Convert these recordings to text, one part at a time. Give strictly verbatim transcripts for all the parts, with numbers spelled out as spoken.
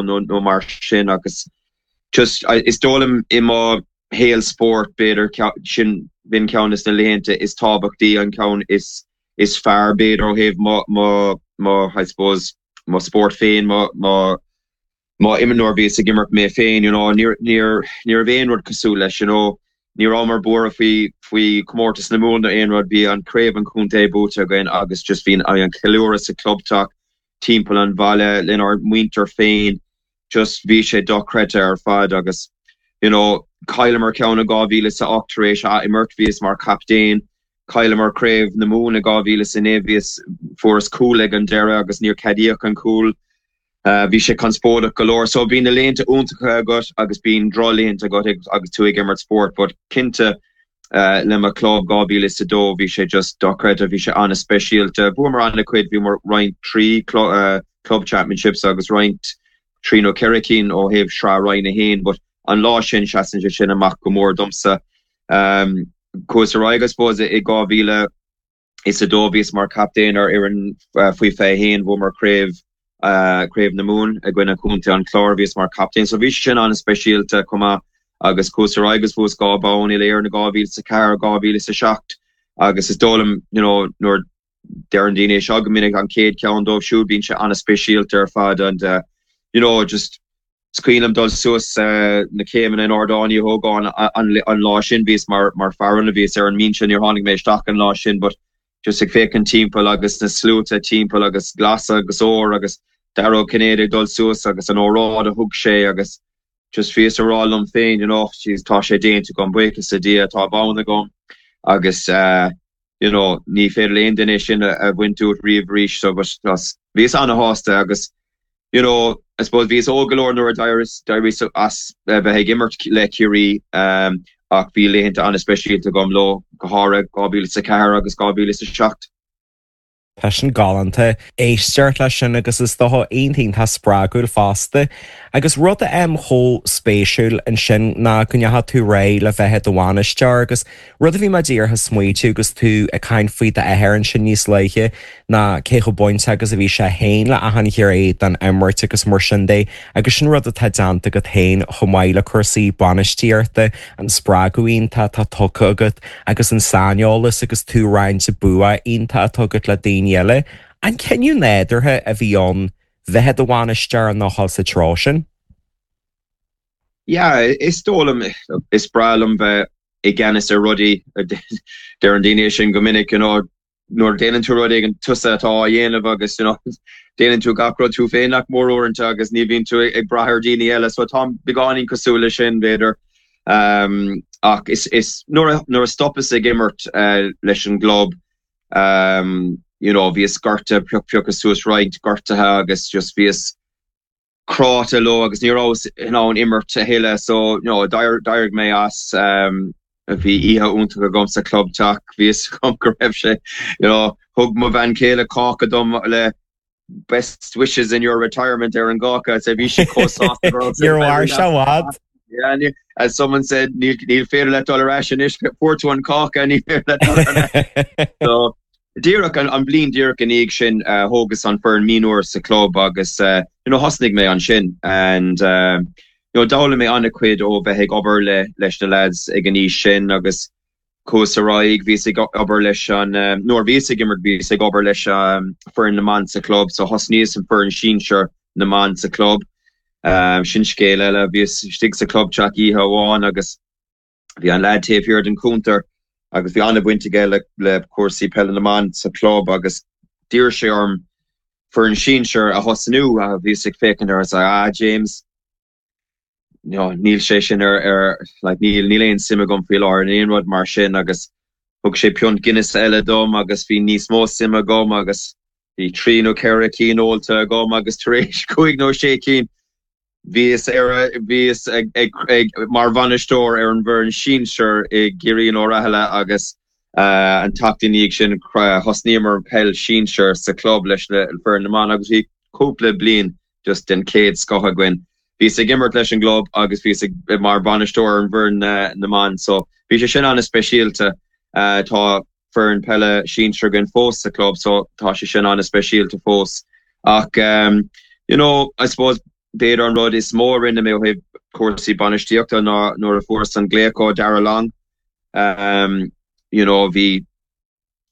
nó nó mar sin agus just is dóigh liom i mo shaol spóirt b'fhéidir sin b'in ceann de na laethanta is tábhachtaí an ceann is is fearr b'fhéidir ó thaobh mo mo mo I suppose mo spórt féin mo mo mo imreoir bhíos ag imirt mé féin you know níor níor ní raibh aon rud cosúil leis you know ní rabhamar buartha faoi faoi comórtas na Mumhan aon rud bhí an craobh an chontae buaite againn agus just bhí an ceiliúradh sa clubteach timpeall an bhaile lenár muintir féin just bhí sé dochreidte ar fad agus you know chailleamar ceann i dhá mhíle sa ocht tar éis a imirt bhíos mar captaen chailleamar craobh na Mumhan i dhá mhíle sa naoi bhíos fuaireas cúl ag an deireadh agus níor ceadaíodh an cúl Uh, bhí sé conspóideach go leor so bíonn na laethanta iontacha agat agus bíonn drochlaethanta agat agus tú ag imirt spórt, but cinnte uh, le mo club dhá mhíle sa dó bhí sé just dochreidte bhí sé an-speisialta. Bhuamar an-chuid bhí mar roinnt trí uh, club championships agus roinnt trí nó ceithre cinn ó thaobh Sraith Roinn a haon, but an lá sin seasann sé sin amach go mór domsa. Um, Chuas ar aghaidh suppose i dhá mhíle is a dó bhíos mar captaen ar fhoireann uh, faoi fiche haon bhuamar craobh uh, craobh na Mumhan i gcoinne Chontae an Chláir bhíos mar captaen, so bhí sin an-speisialta chomh maith agus chuas ar aghaidh agus bhuas dhá bonn uile-Éireann na dhá mhíle sa ceathair dhá mhíle sa seacht agus is dóigh liom you know, nuair deireann daoine seo go minic an chéad ceann dóibh siúd bíonn sé an-speisialta ar fad and uh, you know, just is cuimhin liom dul suas uh, na céimeanna in Ardán Uí Ógáin an, an lá sin bhíos mar mar fearann a bhíos ar an mbinse níor tháinig mé isteach an lá sin, but just ag féachaint timpeall agus na sluaite timpeall agus glas agus ór agus Dara Ó Cinnéide ag dul suas agus an óráid a thug sé agus just bhíos ag rá liom féin you know, tá sé déanta agam buíochas le Dia tá bonn agam agus uh, you know, ní féidir le aon duine sin a bhaint uait riamh arís so bhíos an-sásta agus you know, I suppose bhíos óg go leor nuair d'éiríos as bheith ag imirt le Ciarraí um, ach bhí laethanta an-speisialta agam leo go háirithe dhá mhíle sa ceathair agus dhá mhíle sa seacht. Tá sin galánta éisteacht leis sin agus is dócha iontach spreagúil fosta, agus rud a em chomh spéisiúil ansin ná go ndeachaigh tú ar aghaidh le bheith i do bhainisteoir agus rud a bhí mé díreach ag smaointiú agus tú ag caint faoi d'athair ansin níos luaithe ná cé chomh bainte agus a bhí sé féin le achan ghné den imirt agus mar sin de agus sin rud atá déanta agat féin chomh maith le cúrsaí bainistíochta an spreagadh iontach atá tugtha agat agus an saineolas agus tú roinnt bua iontach atá agat le daoine eile. An cinneadh nádúrtha a bhí ann bheith i do bhainisteoir nó sa treo sin? Yeah, is dóigh liom is breá liom bheith i gceannas ar rudaí deireann daoine sin go minic you know, nuair déanann tú rud éigin tusa atá á dhéanamh agus you know, déanann tú gach rud tú féin nach mór uaireanta agus ní bhíonn tú ag brath ar daoine eile, so tá beagáinín cosúil leis sin b'fhéidir. Um, ach is, is nuair nuair a stopas ag imirt uh, leis an gclub um, you know, bhíos gortaithe pioc piocadh suas roinnt gortuithe agus just bhíos cráite leo agus ní rabhas in ann imirt a thuilleadh so you know, d'éirigh mé as um, bhí oíche iontach agam sa clubteach bhíos chum go raibh sé you know, thug mo bhean chéile cáca dom le best wishes in your retirement ar an gcáca so bhí sí Níor mhair sé i bhfad. Yeah, as someone said níl níl féidir leat dul ar ais anois fuair tú an cáca ní féidir leat dul ar ais. so díreach an, an bliain díreach ina dhiaidh sin uh, thógas an foireann mionúr sa club agus uh, you know, thosnaigh mé ansin and uh, you know, d'fhoghlaim mé an-chuid ó bheith ag obair le leis na lads ag an aois sin agus chuas ar aghaidh bhíos ag obair leis an um, nuair bhíos ag imirt bhíos ag obair leis um, foireann na mban sa club so thosnaíos an foireann sinsir na mban sa club um, sin scéal eile bhíos istigh sa clubteach oíche amháin agus bhí an lad taobh thiar den chuntar agus bhí an-bhaint aige le le cúrsaí peile na mban sa club agus d'iarr sé orm foireann sinsir a thosnú a bhíos ag féachaint air ah James you know, níl sé sin ar ar like, níl níl aon suim agam faoi láthair in aon rud mar sin agus thug sé piúnt Guinness eile dom agus bhí níos mó suime agam agus bhí trí nó ceithre cinn ólta agam agus tar éis cúig nó sé cinn bhíos ar bhíos ag, ag, ag mar bhainisteoir ar an bhfoireann sinsir i gCiarraí nó Rathaile agus uh, an tseachtain ina dhiaidh sin thosnaíomar peil sinsir sa club leis na foireann na mban agus bhí cúpla bliain just den chéad scoth againn. Bhíos ag imirt leis an gclub agus bhíos ag mar bhainisteoir an bhfoireann na, na mban, so bhí sé sin an-speisialta uh, tá foireann peile sinsir againn fós sa club, so tá sé sin an-speisialta fós. Ach um, you know, I suppose b'fhéidir an rud is mó a rinne mé ó thaobh cúrsaí bainistíochta ná nuair a fuaireas an glaoch ó Darragh Long um, you know bhí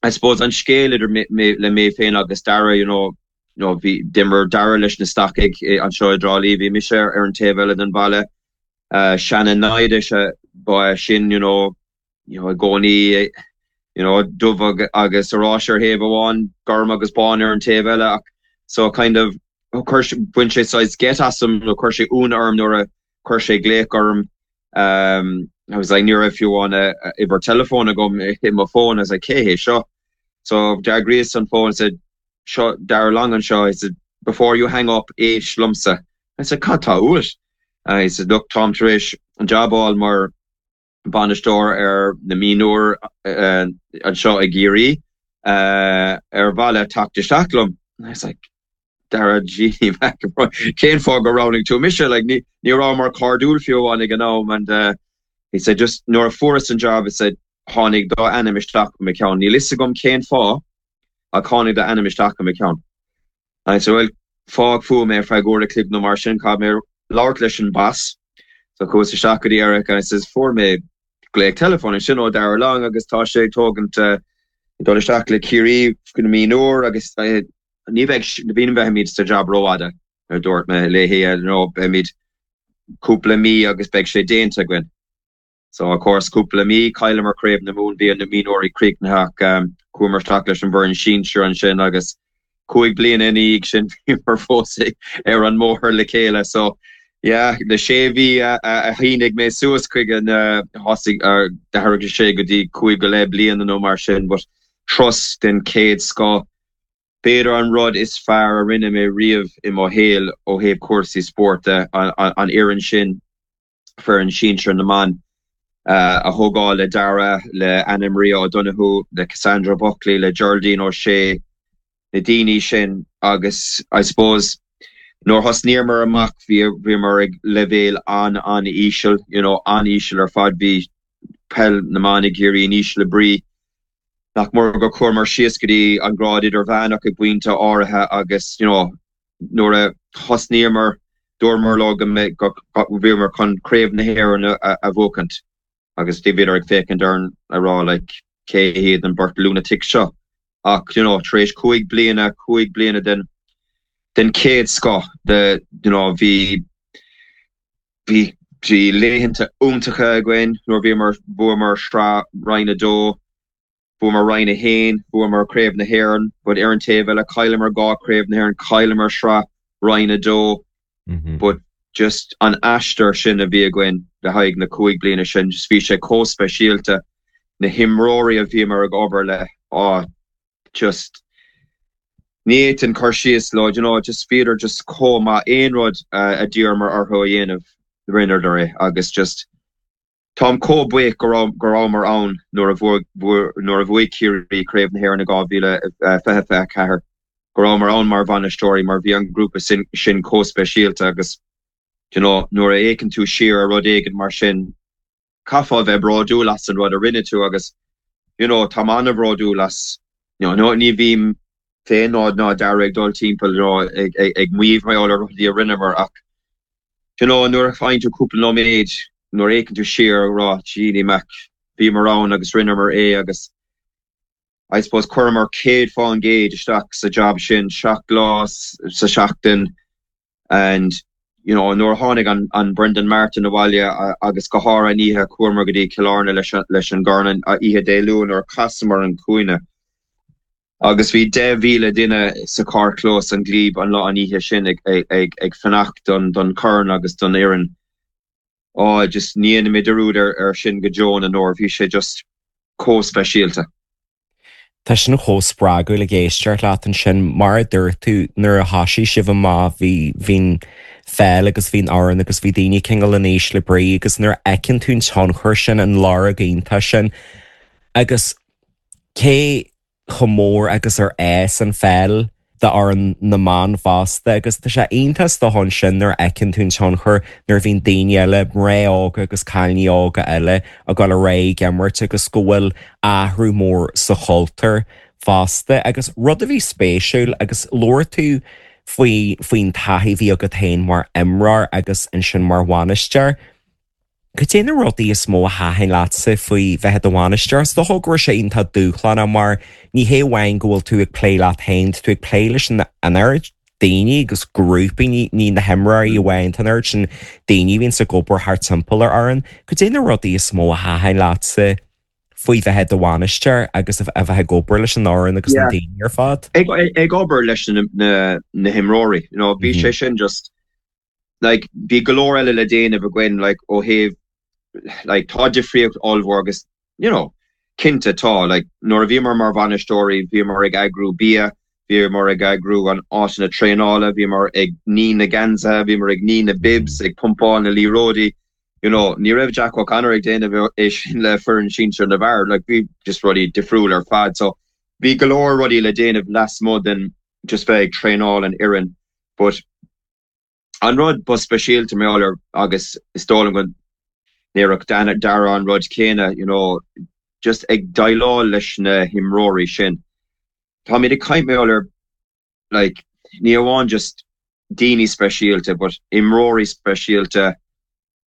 I suppose an scéal idir me, me, le mé féin agus Darragh you know you know bhí d'imir Darragh leis na Stacaigh anseo i dTrá Lí bhí mise ar an taobh eile den bhaile uh, sean-naimhde se ba sin you know you know i gcónaí you know dubh agus oráiste ar thaobh amháin gorm agus bán ar an taobh eile ach so kind of bhain sé saghas geit asam nó chuir sé ionadh orm nuair a chuir sé glaoch orm um, I was like ní raibh fiú an uimhir teileafóin agam i mo phone I was like cé hé seo so d'fhreagraíos an phone said seo Darragh Long anseo I said before you hang up éist liomsa I said cad tá uait uh, he said look táim tar éis an job a fháil mar bainisteoir ar na mionúir uh, anseo i gCiarraí uh, ar mhaith leat teacht isteach liom I was like Darragh G cén fáth gur roghnaigh tú mise like ní ní rabhamar cairdiúil fiú amháin ag an am and uh, he said just nuair a fuaireas an job he said tháinig do ainm isteach mo cheann níl a fhios agam cén fáth a tháinig do ainm isteach mo cheann I said well fág fúm é feadh uair an chloig nó mar sin caithfidh mé labhairt leis an boss so chuas isteach go dtí Eric and I says fuair mé glaoch teileafóin sin ó Darragh Long agus tá sé tógant uh, dul isteach le Ciarraí go mionúir agus uh, ní bheidh bhíon bheimid sa job rófhada ar dúirt mé léi nó beimid cúpla mí agus beidh sé déanta againn. So of course cúpla mí chailleamar craobh na Mumhan bhí na mionúirí críochnaithe um, chuamar isteach leis an bhfoireann sinsir ansin agus cúig bliana ina dhiaidh sin bhíomar fós ar an mbóthar le chéile so yeah, le sé mhí a, a, a shínigh mé suas chuig an uh, thosaigh uh, d'athraigh sé go dtí cúig go leith bliana nó mar sin, but trust den chéad scoth B'fhéidir an rud is fearr a rinne mé riamh i mo shaol ó thaobh cúrsaí spóirt an, an, an fhoireann sin foireann sinsir na mban uh, a thógáil le Darragh le Anna Maria O'Donoghue le Cassandra Buckley le Geraldine O'Shea na daoine sin agus I suppose nuair a thosnaíomar amach bhí bhíomar ag leibhéal an an-íseal you know an-íseal ar fad bhí peil na mban i gCiarraí in ísle brí nach mór go chuamar síos go dtí an grád idirmheánach ag pointe áirithe agus you know nuair a thosnaíomar dúramar leo go bhíomar chun craobh na hÉireann a, a bhuachaint agus dí bhíodar ag féachaint orainn ag rá like, cé hiad an bheirt lunatic seo ach you know tar éis cúig bliana cúig bliana den den chéad scoth de you know bhí bhí bhí laethanta iontacha againn nuair bhíomar bhuamar sraith Roinn a dó bhuamar Roinn a haon bhuamar craobh na hÉireann but ar an taobh eile chailleamar dhá craobh na hÉireann chailleamar sraith Roinn a dó Mm -hmm. but just an aistear sin a bhí againn le haghaidh na cúig bliana sin just bhí sé chomh speisialta na himreoirí a bhíomar ag obair le á just ní an cur síos le you know just bhíodar just chomh maith aon rud uh, a d'iarramar orthu a dhéanamh rinneadar é agus just Táim chomh buíoch go rabhamar ann nuair a nuair a bhuaigh Ciarraí craobh na hÉireann dhá mhíle fiche fiche ceathair go rabhamar ann mar bhainisteoirí mar bhí an grúpa sin sin chomh speisialta agus you know, nuair a fhéachann tú siar ar rud éigin mar sin caithfeá bheith bródúil as an rud a rinne tú agus you know, tá an-bhródúil as you know, no, ní bhím féin ná ná Darragh ag dul timpeall you know, ag, ag, ag maíomh mar rudaí a rinneamar ach you know, nuair a faigheann tú cúpla nóiméad nuair a fhéachann tú siar rá Genie Mac bhíomar ann agus rinneamar é agus I suppose chuireamar céad faoin gcéad isteach sa job sin seacht lá sa seachtain and you know nuair a tháinig an, an Brendan Martin abhaile agus go háirithe an oíche chuamar go dtí Cill Airne leis leis an gcorn oíche Dé Luain nuair chasamar an cúinne. Agus bhí deich míle duine sa carrchlós an Glebe an lá an oíche sin ag, ag, ag, ag fanacht don, don chorn agus don fhoireann. Á just ní dhéanfaidh mé dearúd ar, ar sin go deo na ndeor, bhí sé just chomh speisialta. Tá sin chomh spreagúil ag éisteacht leat ansin mar a dúirt tú nuair a thosaigh sibh amach bhí bhín pheil agus bhín áran agus bhí daoine cineál in ísle brí agus nuair a fheiceann tú an tionchar sin an lorg iontach sin agus cé chomh mór agus ar fhás an pheil d'fhoireann na mban fosta agus tá sé iontach do sin nuair a fheiceann tú an tionchar nuair a bhíonn daoine eile mná óga agus cailíní óga eile ag dul ar aghaidh ag imirt agus go bhfuil athrú mór sa chultúr fosta agus rud a bhí spéisiúil agus labhair tú faoi faoin taithí a bhí agat féin mar imreoir agus ansin mar bhainisteoir. Cad é na rudaí is mó a thaitin leatsa faoi bheith i do bhainisteoir? Is dócha go raibh sé iontach dúshlánach mar ní hé amháin go bhfuil tú ag plé leat féin, tú ag plé leis an an oiread daoine agus grúpaí ní ní na himreoirí amháin an oiread sin daoine a bhíonn ag obair thart timpeall ar fhoireann. Cad é na rudaí is mó a thaitin leatsa faoi bheith i do bhainisteoir agus a bheith ag obair leis an fhoireann agus na daoine ar fad? Ag ag obair leis na na na himreoirí, you know, bhí sé sin just like bhí go leor eile le déanamh againn like ó thaobh like tá difríocht ollmhór agus you know cinnte tá like nuair a bhíomar mar bhainisteoirí bhíomar ag eagrú bia bhíomar ag eagrú an áiteanna traenála bhíomar ag ní na geansaithe bhíomar ag ní na bibs ag pumpáil na liathróidí you know ní raibh Jack O'Connor ag déanamh é sin le foireann sinsir na bhfear like bhí just rudaí difriúil ar fad so bhí go leor rudaí le déanamh lasmuigh den just bheith ag traenáil an fhoireann but an rud ba speisialta mé ar agus is dóigh liom go ndéarfadh Dara an rud céanna you know just ag déileáil leis na himreoirí sin. Táimid ag caint mé ar like ní amháin just daoine speisialta but imreoirí speisialta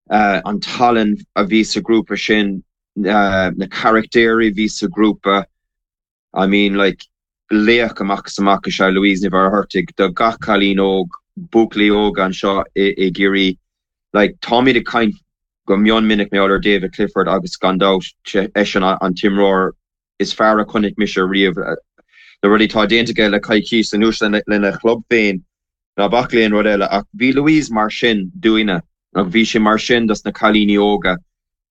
uh, an tallann a bhí sa grúpa sin uh, na carachtéirí bhí sa grúpa I mean like laoch amach is amach is ea Louise Ní Mhuircheartaigh do gach cailín óg buachaillí óga anseo i, i gCiarraí like táimid ag caint go mion minic mé ar David Clifford agus gan dabht eisean an t-imreoir is fearr a chonaic mise riamh na rudaí tá déanta aige le coicís anuas lena chlub féin ná bac le aon rud eile ach bhí Louise mar sin dúinne ach bhí sé mar sin dos na cailíní óga.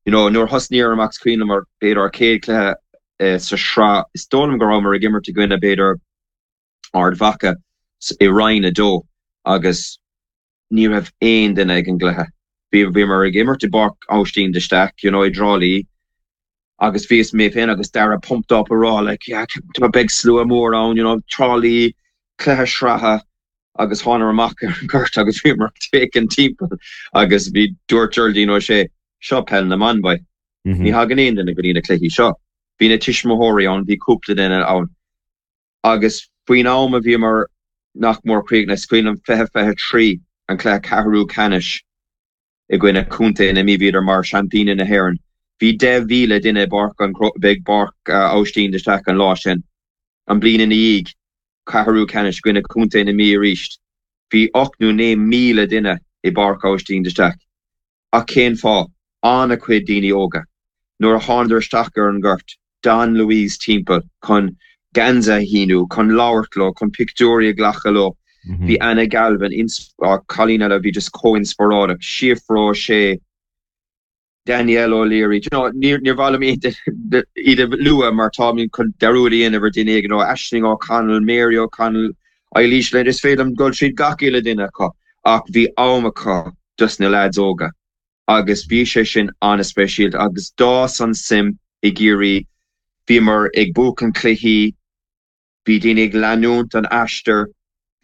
You know, nuair thosnaíomar amach is cuimhin mar b'fhéidir ár céad cluiche uh, sa sraith is dóigh liom go rabhamar ag imirt i gcoinne b'fhéidir Ard Mhacha i Roinn a dó agus ní raibh aon duine ag an gcluiche. Bhí bhíomar ag imirt i bPáirc Aibhistín de Staic, you know, i dTrá Lí, agus bhí mé féin agus Dara pumped up a rá like yeah, tá beidh slua mór ann, you know, Trá Lí, cluiche sraithe agus thánamar amach ar an gort agus bhíomar féachaint timpeall agus bhí dúirt Geraldine ó sé seo peil na mban boy. Ní thagann aon duine go dtí na cluichí seo. Bhí na tuismitheoirí ann, bhí cúpla duine ann. Agus faoin am a bhíomar nach mór críochnaithe is cuimhin liom fiche fiche trí an cluiche ceathrú ceannais i gcoinne Contae na Mí bhíodar mar seaimpíní na hÉireann. Bhí deich mhíle duine i bPáirc an big Páirc Aibhistín de Staic an lá sin. An bliain ina dhiaidh ceathrú ceannais i gcoinne Contae na Mí arís. Bhí ocht nó naoi míle duine i bPáirc Aibhistín de Staic. Ach cén fáth an-chuid daoine óga. Nuair a thánadar isteach ar an gort, d'fhan Louise timpeall chun geansaí a shíniú, chun labhairt leo, chun pictiúirí a ghlacadh leo. Bhí Anna Galvin cailín eile bhí just chomh inspioráideach, Síofra O'Shea, Danielle O'Leary, you know, níor níor mhaith liom iad a lua mar tá chun dearúd a dhéanamh ar duine éigin ó Aisling O'Connell, Mary O'Connell, Eilís Lynn, is féidir liom dul tríd gach uile duine acu ach bhí am acu dos na lads óga. agus bhí sé sin an-speisialta agus d'fhás an suim i gCiarraí bhíomar ag buachan cluichí, bhí daoine ag leanúint an aistear,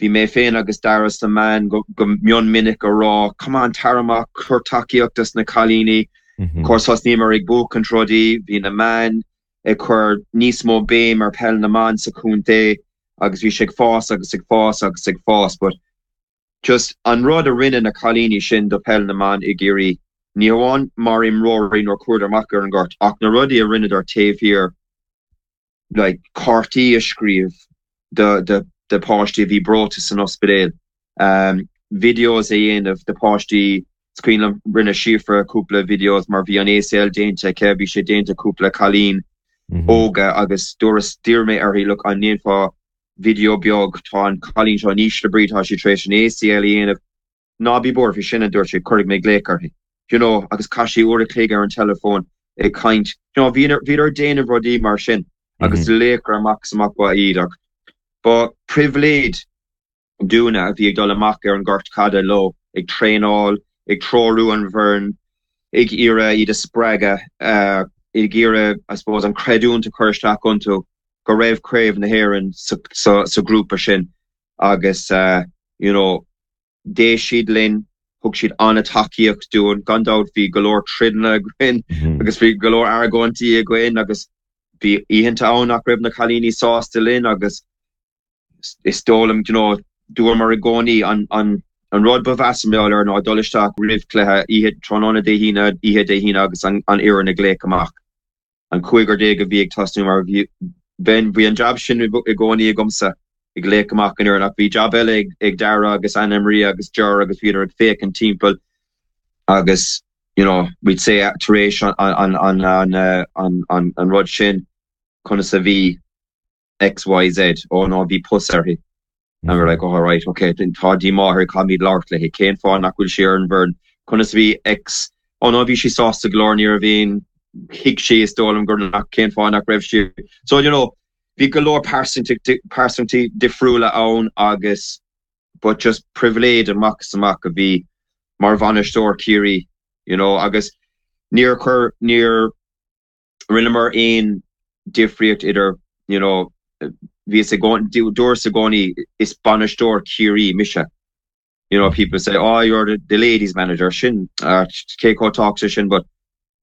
bhí mé féin agus Dara sna meáin go, go mion minic a rá, come on tar amach cuir tacaíocht dos na cailíní, Of course thosnaíomar ag buachan rudaí, bhí na meáin ag cur níos mó béim ar peil na mban sa chontae agus bhí sé ag fás agus ag fás agus ag fás, but just an rud a rinne na cailíní sin do peil na mban i gCiarraí, ní amháin mar imreoirí nuair chuadar amach ar an gort, ach na rudaí a rinneadar taobh thiar like cártaí a scríobh de de de páistí a bhí breoite san ospidéal. Um, videos a dhéanamh de páistí is cuimhin liom rinne Síofra cúpla videos mar bhí an ACL déanta aici, bhí sé déanta cúpla cailín óga agus dúras d'iarr mé uirthi look an ndéanfá video beag tá an cailín seo in ísle brí tá sí tar éis an ACL a dhéanamh ná bí buartha faoi sin a dúirt sé cuirfidh mé glaoch uirthi. You know, agus chaith sí uair a chloig ar an telefón ag caint. You know, bhíodar ag déanamh rudaí mar sin agus laochra amach is amach ba iad ach ba pribhléid dúinne a bhí ag dul amach ar an gort caide leo ag traenáil, ag treorú an bhfoireann, ag iarraidh iad a spreagadh, uh, ag iarraidh I suppose an creidiúint a chur isteach iontu go raibh craobh na hÉireann sa, sa, sa grúpa sin agus uh, you know, d'éist siad linn, thug siad an-tacaíocht dúinn, gan dabht bhí go leor troideanna againn agus bhí go leor argóintí againn agus bhí oícheanta ann nach raibh na cailíní sásta linn agus is dóigh liom you know, Dúramar i gcónaí an an an rud ba mheasa mar gheall air ná dul isteach roimh cluiche oíche tráthnóna Dé hAoine oíche Dé hAoine agus an an fhoireann a ghlaoch amach. An cúigear déag a bhí ag tosnú mar bhí bhí an jab sin i gcónaí agamsa ag glaoch amach an fhoireann ach bhí jab eile ag ag Dara agus Anna Maria agus Ger agus bhíodar ag féachaint timpeall agus you know we'd say tar éis an an an an an an an rud sin conas a bhí XYZ ó ná bhí pus uirthi. And we're like, oh, right, okay, then tá díomá uirthi caithfimid labhairt léi cén fáth nach bhfuil sí ar an bhfoireann conas a bhí X ó ná bhí sí sásta go leor ní raibh aon thuig sí is dóigh liom gur nach cén fáth nach raibh sí. So you know, bhí go leor pearsantaí difriúla ann agus but just pribhléid amach is amach a bhí mar bhainisteoir Ciarraí you know, agus níor chuir níor rinneamar aon difríocht idir you know, bhí dúras i gcónaí is bainisteoir Ciarraí mise. You know, people say, oh, you're the, the ladies manager sin uh, cé chomh tábhachtach sin, but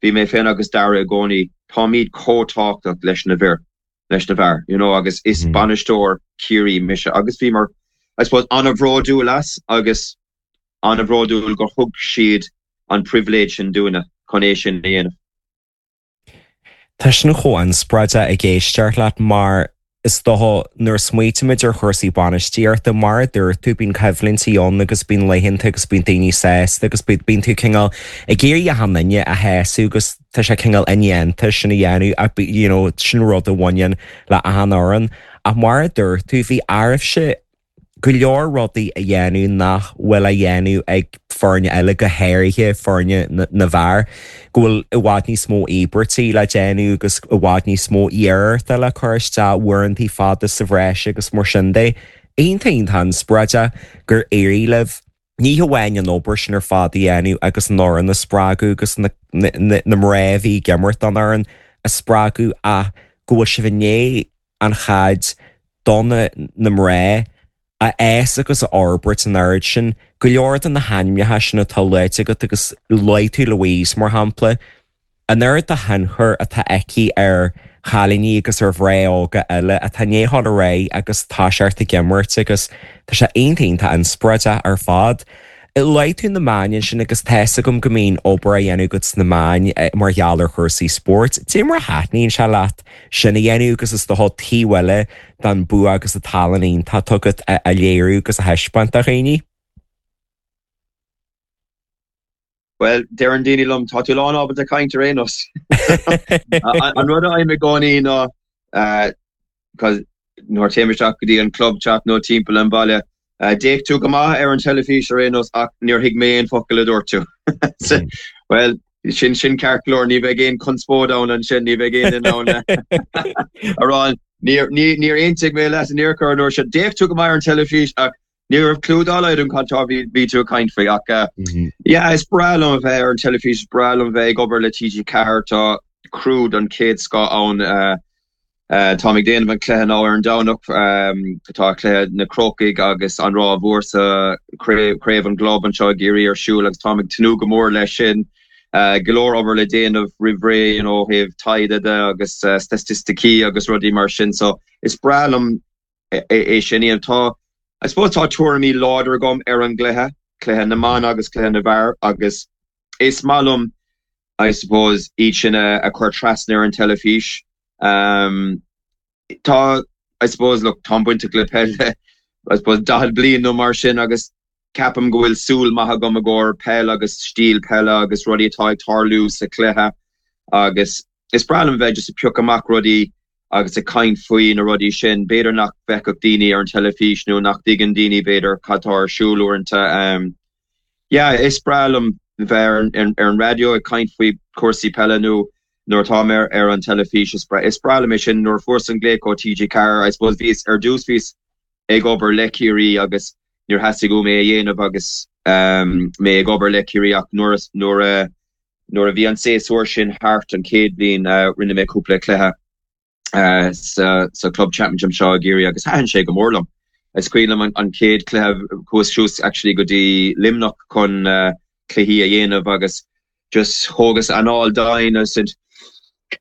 bhí mé féin agus Dara i gcónaí táimid chomh tábhachtach leis na bhfir leis na bhfear, you know, agus is mm. bainisteoir Ciarraí mise agus bhí mar I suppose an-bhródúil as agus an-bhródúil gur thug siad an pribhléid sin dúinne chun é sin a dhéanamh. Tá sin chomh inspioráideach ag éisteacht leat mar is dócha nuair a smaoinímid ar chúrsaí bainistíochta mar a dúirt tú bíonn coimhlintí ann agus bíonn laethanta agus bíonn daoine sásta agus bíonn tú cineál ag iarraidh achan duine a shásamh agus tá sé cineál indéanta sin a dhéanamh ach you know, sin rud a bhaineann le achan fhoireann. Ach mar a dúirt tú bhí oraibhse go leor rudaí a dhéanamh nach bhfuil á dhéanamh ag foirne eile go háirithe foirne na bhfear, go bhfuil i bhfad níos mó íobairtí le déanamh agus i bhfad níos mó iarrachta le cur isteach uaireanta fada sa bhreis agus mar sin de. Iontach iontach inspioráideach gur éirigh libh ní hamháin an obair sin ar fad a dhéanamh agus an fhoireann a spreagadh agus na, na, na, na mná a bhí ag imirt don fhoireann a spreagadh ach go bhfuil sibh i ndiaidh an chaid do na na mná a fhás agus a fhorbairt an oiread sin, go leor de na hainmneacha sin atá luaite agat agus luaigh tú Louise mar shampla, an oiread de thionchar atá aici ar chailíní agus ar mhná óga eile atá i ndiaidh dul ar aghaidh agus tá siad ag imirt agus tá sé iontach iontach inspioráideach ar fad. Luaigh tú na meáin sin agus tá a fhios agam go mbíonn obair á dhéanamh agat sna meáin mar gheall ar chúrsaí spóirt. Cad é mar a thaitníonn sé leat sin a dhéanamh agus is dócha taobh eile den bua agus an tallann iontach atá agat a léiriú agus a thaispeáint do dhaoine? Bhuel, deireann daoine liom, tá tú lán ábalta caint ar aon nós. An rud a fhaighim i gcónaí ná cause nuair téim isteach go dtí an club chat nó timpeall an bhaile, d'fhéach tú go maith ar an teilifís ar aon nós ach níor thuig mé aon focal a dúirt tú. Bhuel, sin sin ceart go leor, ní bheidh aon conspóid ann ansin, ní bheidh aon duine ann a rá níor níor aontaigh mé leat in aon chor an uair seo. D'fhéach tú go maith ar an teilifís ach ní raibh clue dá laghad agam cad tá bhí tú ag caint faoi ach yeah is breá liom a bheith ar an teilifís, is breá liom bheith ag obair le TG Ceathair, tá crew den chéad scoth ann. Táim ag déanamh an cluiche now ar an Domhnach, tá cluiche na Crócaigh agus an Ráth Mhór sa Craobh an gClub anseo i gCiarraí ar siúl agus táim ag tnúth go mór leis sin. Go leor obair le déanamh roimh ré you know ó thaobh taighde de agus staitisticí agus rudaí mar sin so is breá liom é sin a dhéanamh. Tá, I suppose tá tuairimí láidir agam ar an gcluiche, cluiche na mban agus cluiche na bhfear agus is maith liom I suppose iad sin a chur trasna ar an teilifís. Um, tá I suppose look táim bainteach le peil I suppose daichead bliain nó mar sin agus ceapaim go bhfuil súil maith agam i gcomhair peil agus stíl peile agus rudaí atá ag tarlú sa chluiche agus is breá liom bheith just ag piocadh amach rudaí agus ag caint faoi na rudaí sin. B'fhéidir nach bhfeicfeadh daoine ar an teilifís nó nach dtuigeann daoine b'fhéidir cad tá ar siúl uaireanta. Um, yeah, is breá liom bheith ar, ar, ar an raidió ag caint faoi chúrsaí peile nó nuair atá mé ar an teilifís is breá, is breá liom é sin nuair a fuaireas an glaoch ó TG Ceathair I suppose bhíos ar dtús bhíos ag obair le Ciarraí agus níor theastaigh uaim é a dhéanamh agus um, mé ag obair le Ciarraí ach nuair a, nuair a, nuair a bhí an séasúr sin thart an chéad bhliain uh, rinne mé cúpla cluiche uh, sa, sa Club Championship seo i gCiarraí agus thaitin sé go mór liom. Is cuimhin liom an, an chéad cluiche chuas suas actually go dtí Luimneach chun uh, cluichí a dhéanamh agus just thógas anáil domhain I said,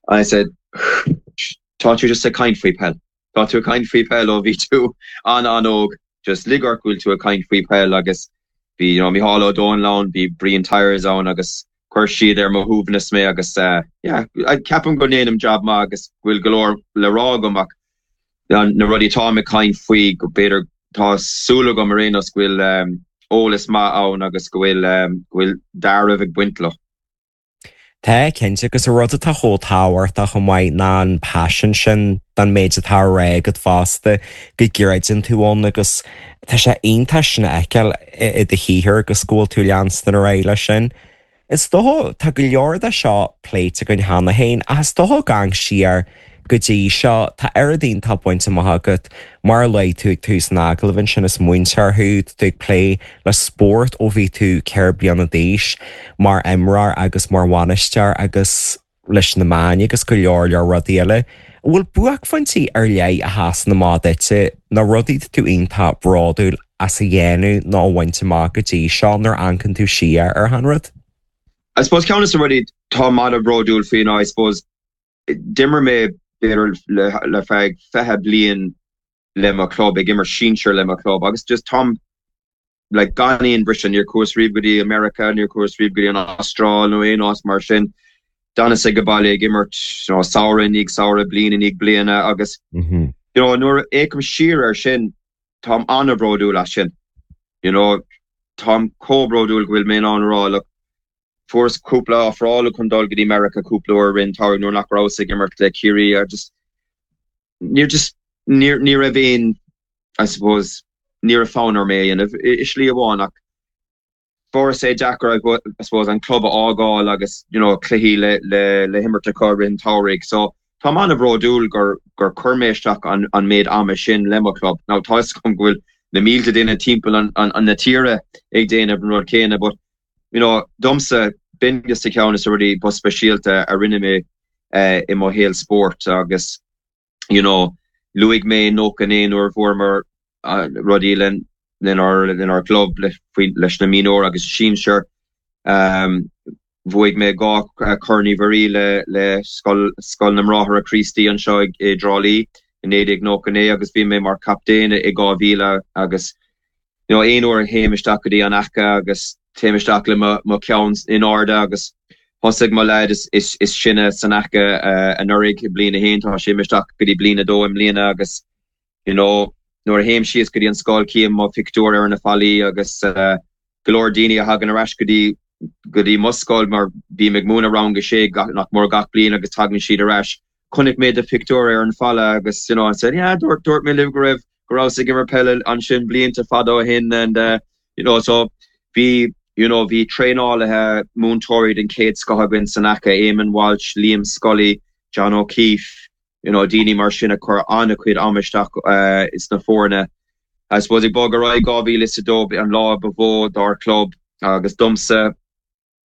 I said tá tú just ag caint faoi peil. Tá tú ag caint faoi peil ó bhí tú an an-óg. just lig ort go bhfuil tú ag caint faoi peil agus bhí you know, Micheál Ó Domhnaill ann, bhí Brian Tyers ann agus chuir siad ar mo shuaimhneas mé agus uh, yeah, ceapaim go ndéanaim job maith agus go bhfuil go leor le rá agam ach na rudaí tá ag caint faoi go b'fhéidir tá súil agam ar aon nós go bhfuil um, eolas maith ann agus go bhfuil um, go bhfuil dealramh ag baint leo. Tá cinnte agus a rud atá chomh tábhachtach chomh maith ná an passion sin don méid atá á rá agat fosta go gcreideann tú ann agus tá sé iontach sin a fheiceáil i do shaothar agus go bhfuil tú leanstan ar aghaidh leis sin. Is dócha tá go leor de seo pléite againn cheana féin ach is dócha gan siar go dtí seo tá oiread iontach bainte amach agat mar a luaigh tú ag tús an agallaimh ansin is múinteoir thú tú ag plé le spórt ó bhí tú ceithre bliana d'aois mar imreoir agus mar bhainisteoir agus leis na meáin agus go leor leor rudaí eile. An bhfuil buaicphointí ar leith a sheasann amach duitse na rudaí tú iontach bródúil as a dhéanamh nó a bhaint amach go dtí seo nuair a amharcann tú siar ar an rud? I suppose ceann de na rudaí tá an-bhródúil faoi ná I suppose d'imir mé b'fhéidir le, le feadh fiche bliain le mo club ag imirt sinsir le mo club agus just táim like gan aon briseadh níor chuas riamh go dtí America níor chuas riamh go dtí an Astráil nó aon áit mar sin d'fhanas ag baile ag imirt you know, samhradh i ndiaidh samhradh bliain i ndiaidh bliana agus Mm -hmm. you know, nuair a fhéachaim siar ar sin táim an-bhródúil as sin you know, táim chomh bródúil go bhfuil mé an rá le fuaireas cúpla ofráil chun dul go dtí America cúpla uair rin tar nuair nach rabhas ag imirt le Ciarraí ar just níor just níor ní raibh aon I suppose ní raibh fonn orm é a dhéanamh i slí amháin ach fuaireas é deacair I suppose an club a fhágáil agus you know, cluichí le le le himirt acu i rith an tsamhraidh so Tá an-bhródúil gur gur chuir mé isteach an, an méid ama sin le mo club. Now tá go bhfuil na mílte duine timpeall an, an, an na tíre ag déanamh an rud céanna, but you know, domsa b'in just a ceann de na rudaí ba speisialta a rinne mé uh, i mo shaol spóirt agus you know, luaigh mé nócha naoi nuair a bhuamar uh, rudaí len lenár lenár club le, leis na mionúir agus sinsir. Um, bhuaigh mé dhá Chorn Uí Mhuirí le le Scoil Scoil na mBráithre Críostaí anseo i dTrá Lí i naoi déag nócha naoi agus bhí mé mar captaen i dhá mhíle agus you know, aon uair a théim isteach go dtí an ACCA agus téim isteach le mo cheann in airde agus thosaigh mo leaid is, is, is sine san ACCA uh, anuraidh i bliain a haon tá sé isteach go dtí bliain a dó i mbliana agus you know, nuair a théim síos go dtí an scoil cím mo phictiúr ar na fallaí agus uh, go leor daoine a thagann ar ais go dtí go dtí mo scoil mar bím ag múineadh rang a sé nach mór gach bliain agus tagann siad ar ais. Chonaic mé do phictiúr ar an falla agus you know, said yeah dúirt dúirt mé libh go raibh go raibh ag imirt peile ansin blianta fada ó shin and uh, you know so bhí you know bhí traenálaithe múinteoirí den chéad scoth againn san ACCA Eamon Walsh, Liam Scully, John O'Keefe, you know daoine mar sin a chuir an-chuid ama isteach uh, is na foirne. I suppose ag bogadh ar aghaidh dhá mhíle is a dó an lá ba mhó dár club agus domsa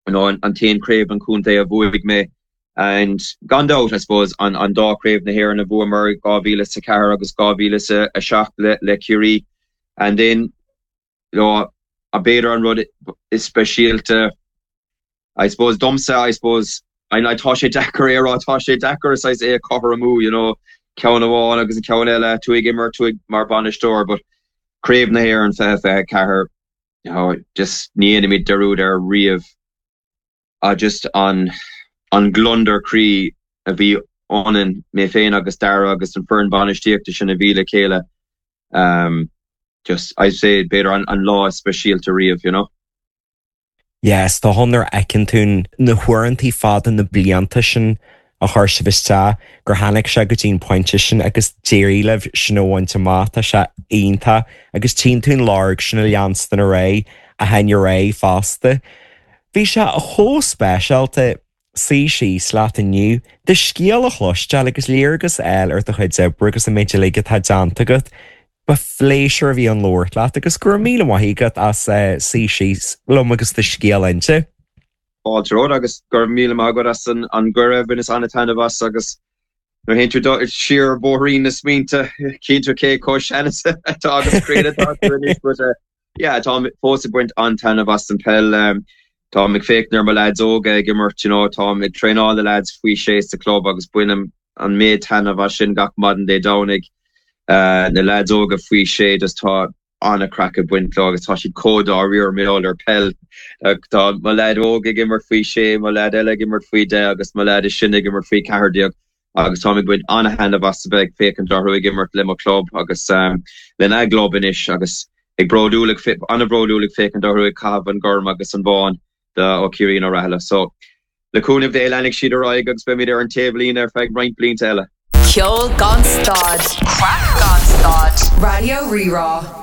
you know, an, an t-aon craobh an chontae a bhuaigh mé and gan dabht I suppose an, an dá craobh na hÉireann a bhuamar dhá mhíle sa ceathair agus dhá mhíle sa a seacht le, le Ciarraí and then you know, a b'fhéidir an rud is speisialta I suppose domsa I suppose I, I tá sé deacair é rá tá sé deacair is é cothromú you know ceann amháin agus an ceann eile tú ag imirt tú mar bhainisteoir but craobh na hÉireann fiche fiche ceathair you know, just ní dhéanfaimid dearúd air riamh a just an an gliondar croí a bhí ionainn mé féin agus Dara agus an foireann bainistíochta sin a bhí le chéile um, just I say b'fhéidir an, an lá speisialta riamh you know. Yes, tá nuair a fheiceann tú na huaireanta fada na blianta sin a chuir sibh isteach gur tháinig sé go dtí an pointe sin agus d'éirigh libh sin a bhaint amach tá sé iontach agus tchíonn tú an lorg sin a leanstan ar aghaidh a théann ar aghaidh fosta. Bhí sé chomh speisialta suí síos leat inniu, do scéal a chloisteáil agus léargas a fháil ar do chuid oibre agus an méid uilig atá déanta agat. Ba phléisiúr a bhí ann labhairt leat agus go raibh míle maith agat as uh, suí síos liom agus do scéal a inse. Fáilte romhat agus gur míle maith agat as an an gcuireadh bhaineas an-taitneamh as agus nuair a théann tú siar bóithrín na smaointe cíonn tú cé chomh sean atá agus críonna but uh, yeah tá fós ag baint an-taitneamh as an peil um, Tá ag féachaint ar mo lads óga ag imirt you know, tá ag traenáil na lads faoi sé sa club agus bainim an méid taitneamh as sin gach maidin Dé Domhnaigh uh, na lads óga faoi sé just tá an-chraic ag baint leo agus tá siad chomh dáiríre mar gheall ar peil. Tá mo leaid óg ag imirt faoi sé, mo leaid eile ag imirt faoi deich agus mo leaid is sine ag imirt faoi ceathair déag agus táim ag baint an-thaitneamh as a bheith ag féachaint orthu ag imirt le mo chlub agus um, lena gclub anois agus ag bródúil an-bhródúil ag féachaint orthu ag caitheamh an gorm agus an bán de ó Ciarraí nó Rathaille. So le cúnamh Dé leanfaidh siad ar aghaidh agus beimid ar an taobhlíne ar feadh roinnt blianta eile. Ceol gan stad, craic gan stad, Raidió Rí-Rá.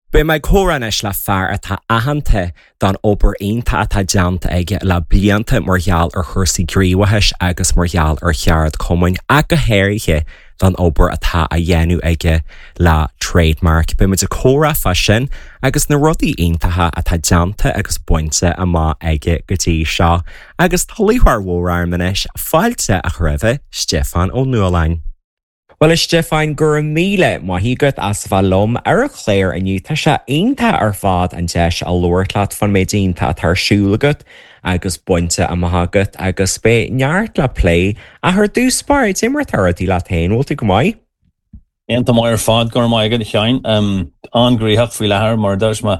Beidh mé ag comhrá anois le fear atá aitheanta don obair iontach atá déanta aige le blianta mar gheall ar chúrsaí gníomhachais agus mar gheall ar cheardchumainn ach go háirithe don obair atá á dhéanamh aige le Trademark. Beimid ag comhrá fá sin agus na rudaí iontacha atá déanta agus bainte amach aige go dtí seo, agus tá lúcháir mhór orm anois fáilte a chur roimh Stiofán Ó Nualláin. Well a Stiofáin go raibh míle maith agat as bheith liom ar an chlár inniu tá sé iontach ar fad an deis a labhairt leat fán méid iontach atá ar siúl agat agus bainte amach agat agus beidh neart le plé ach ar dtús báire cad é mar atá rudaí leat féin bhfuil tú go maith? Iontach maith ar fad go raibh maith agat a Sheáin an-ghnóthach faoi láthair mar dúirt mé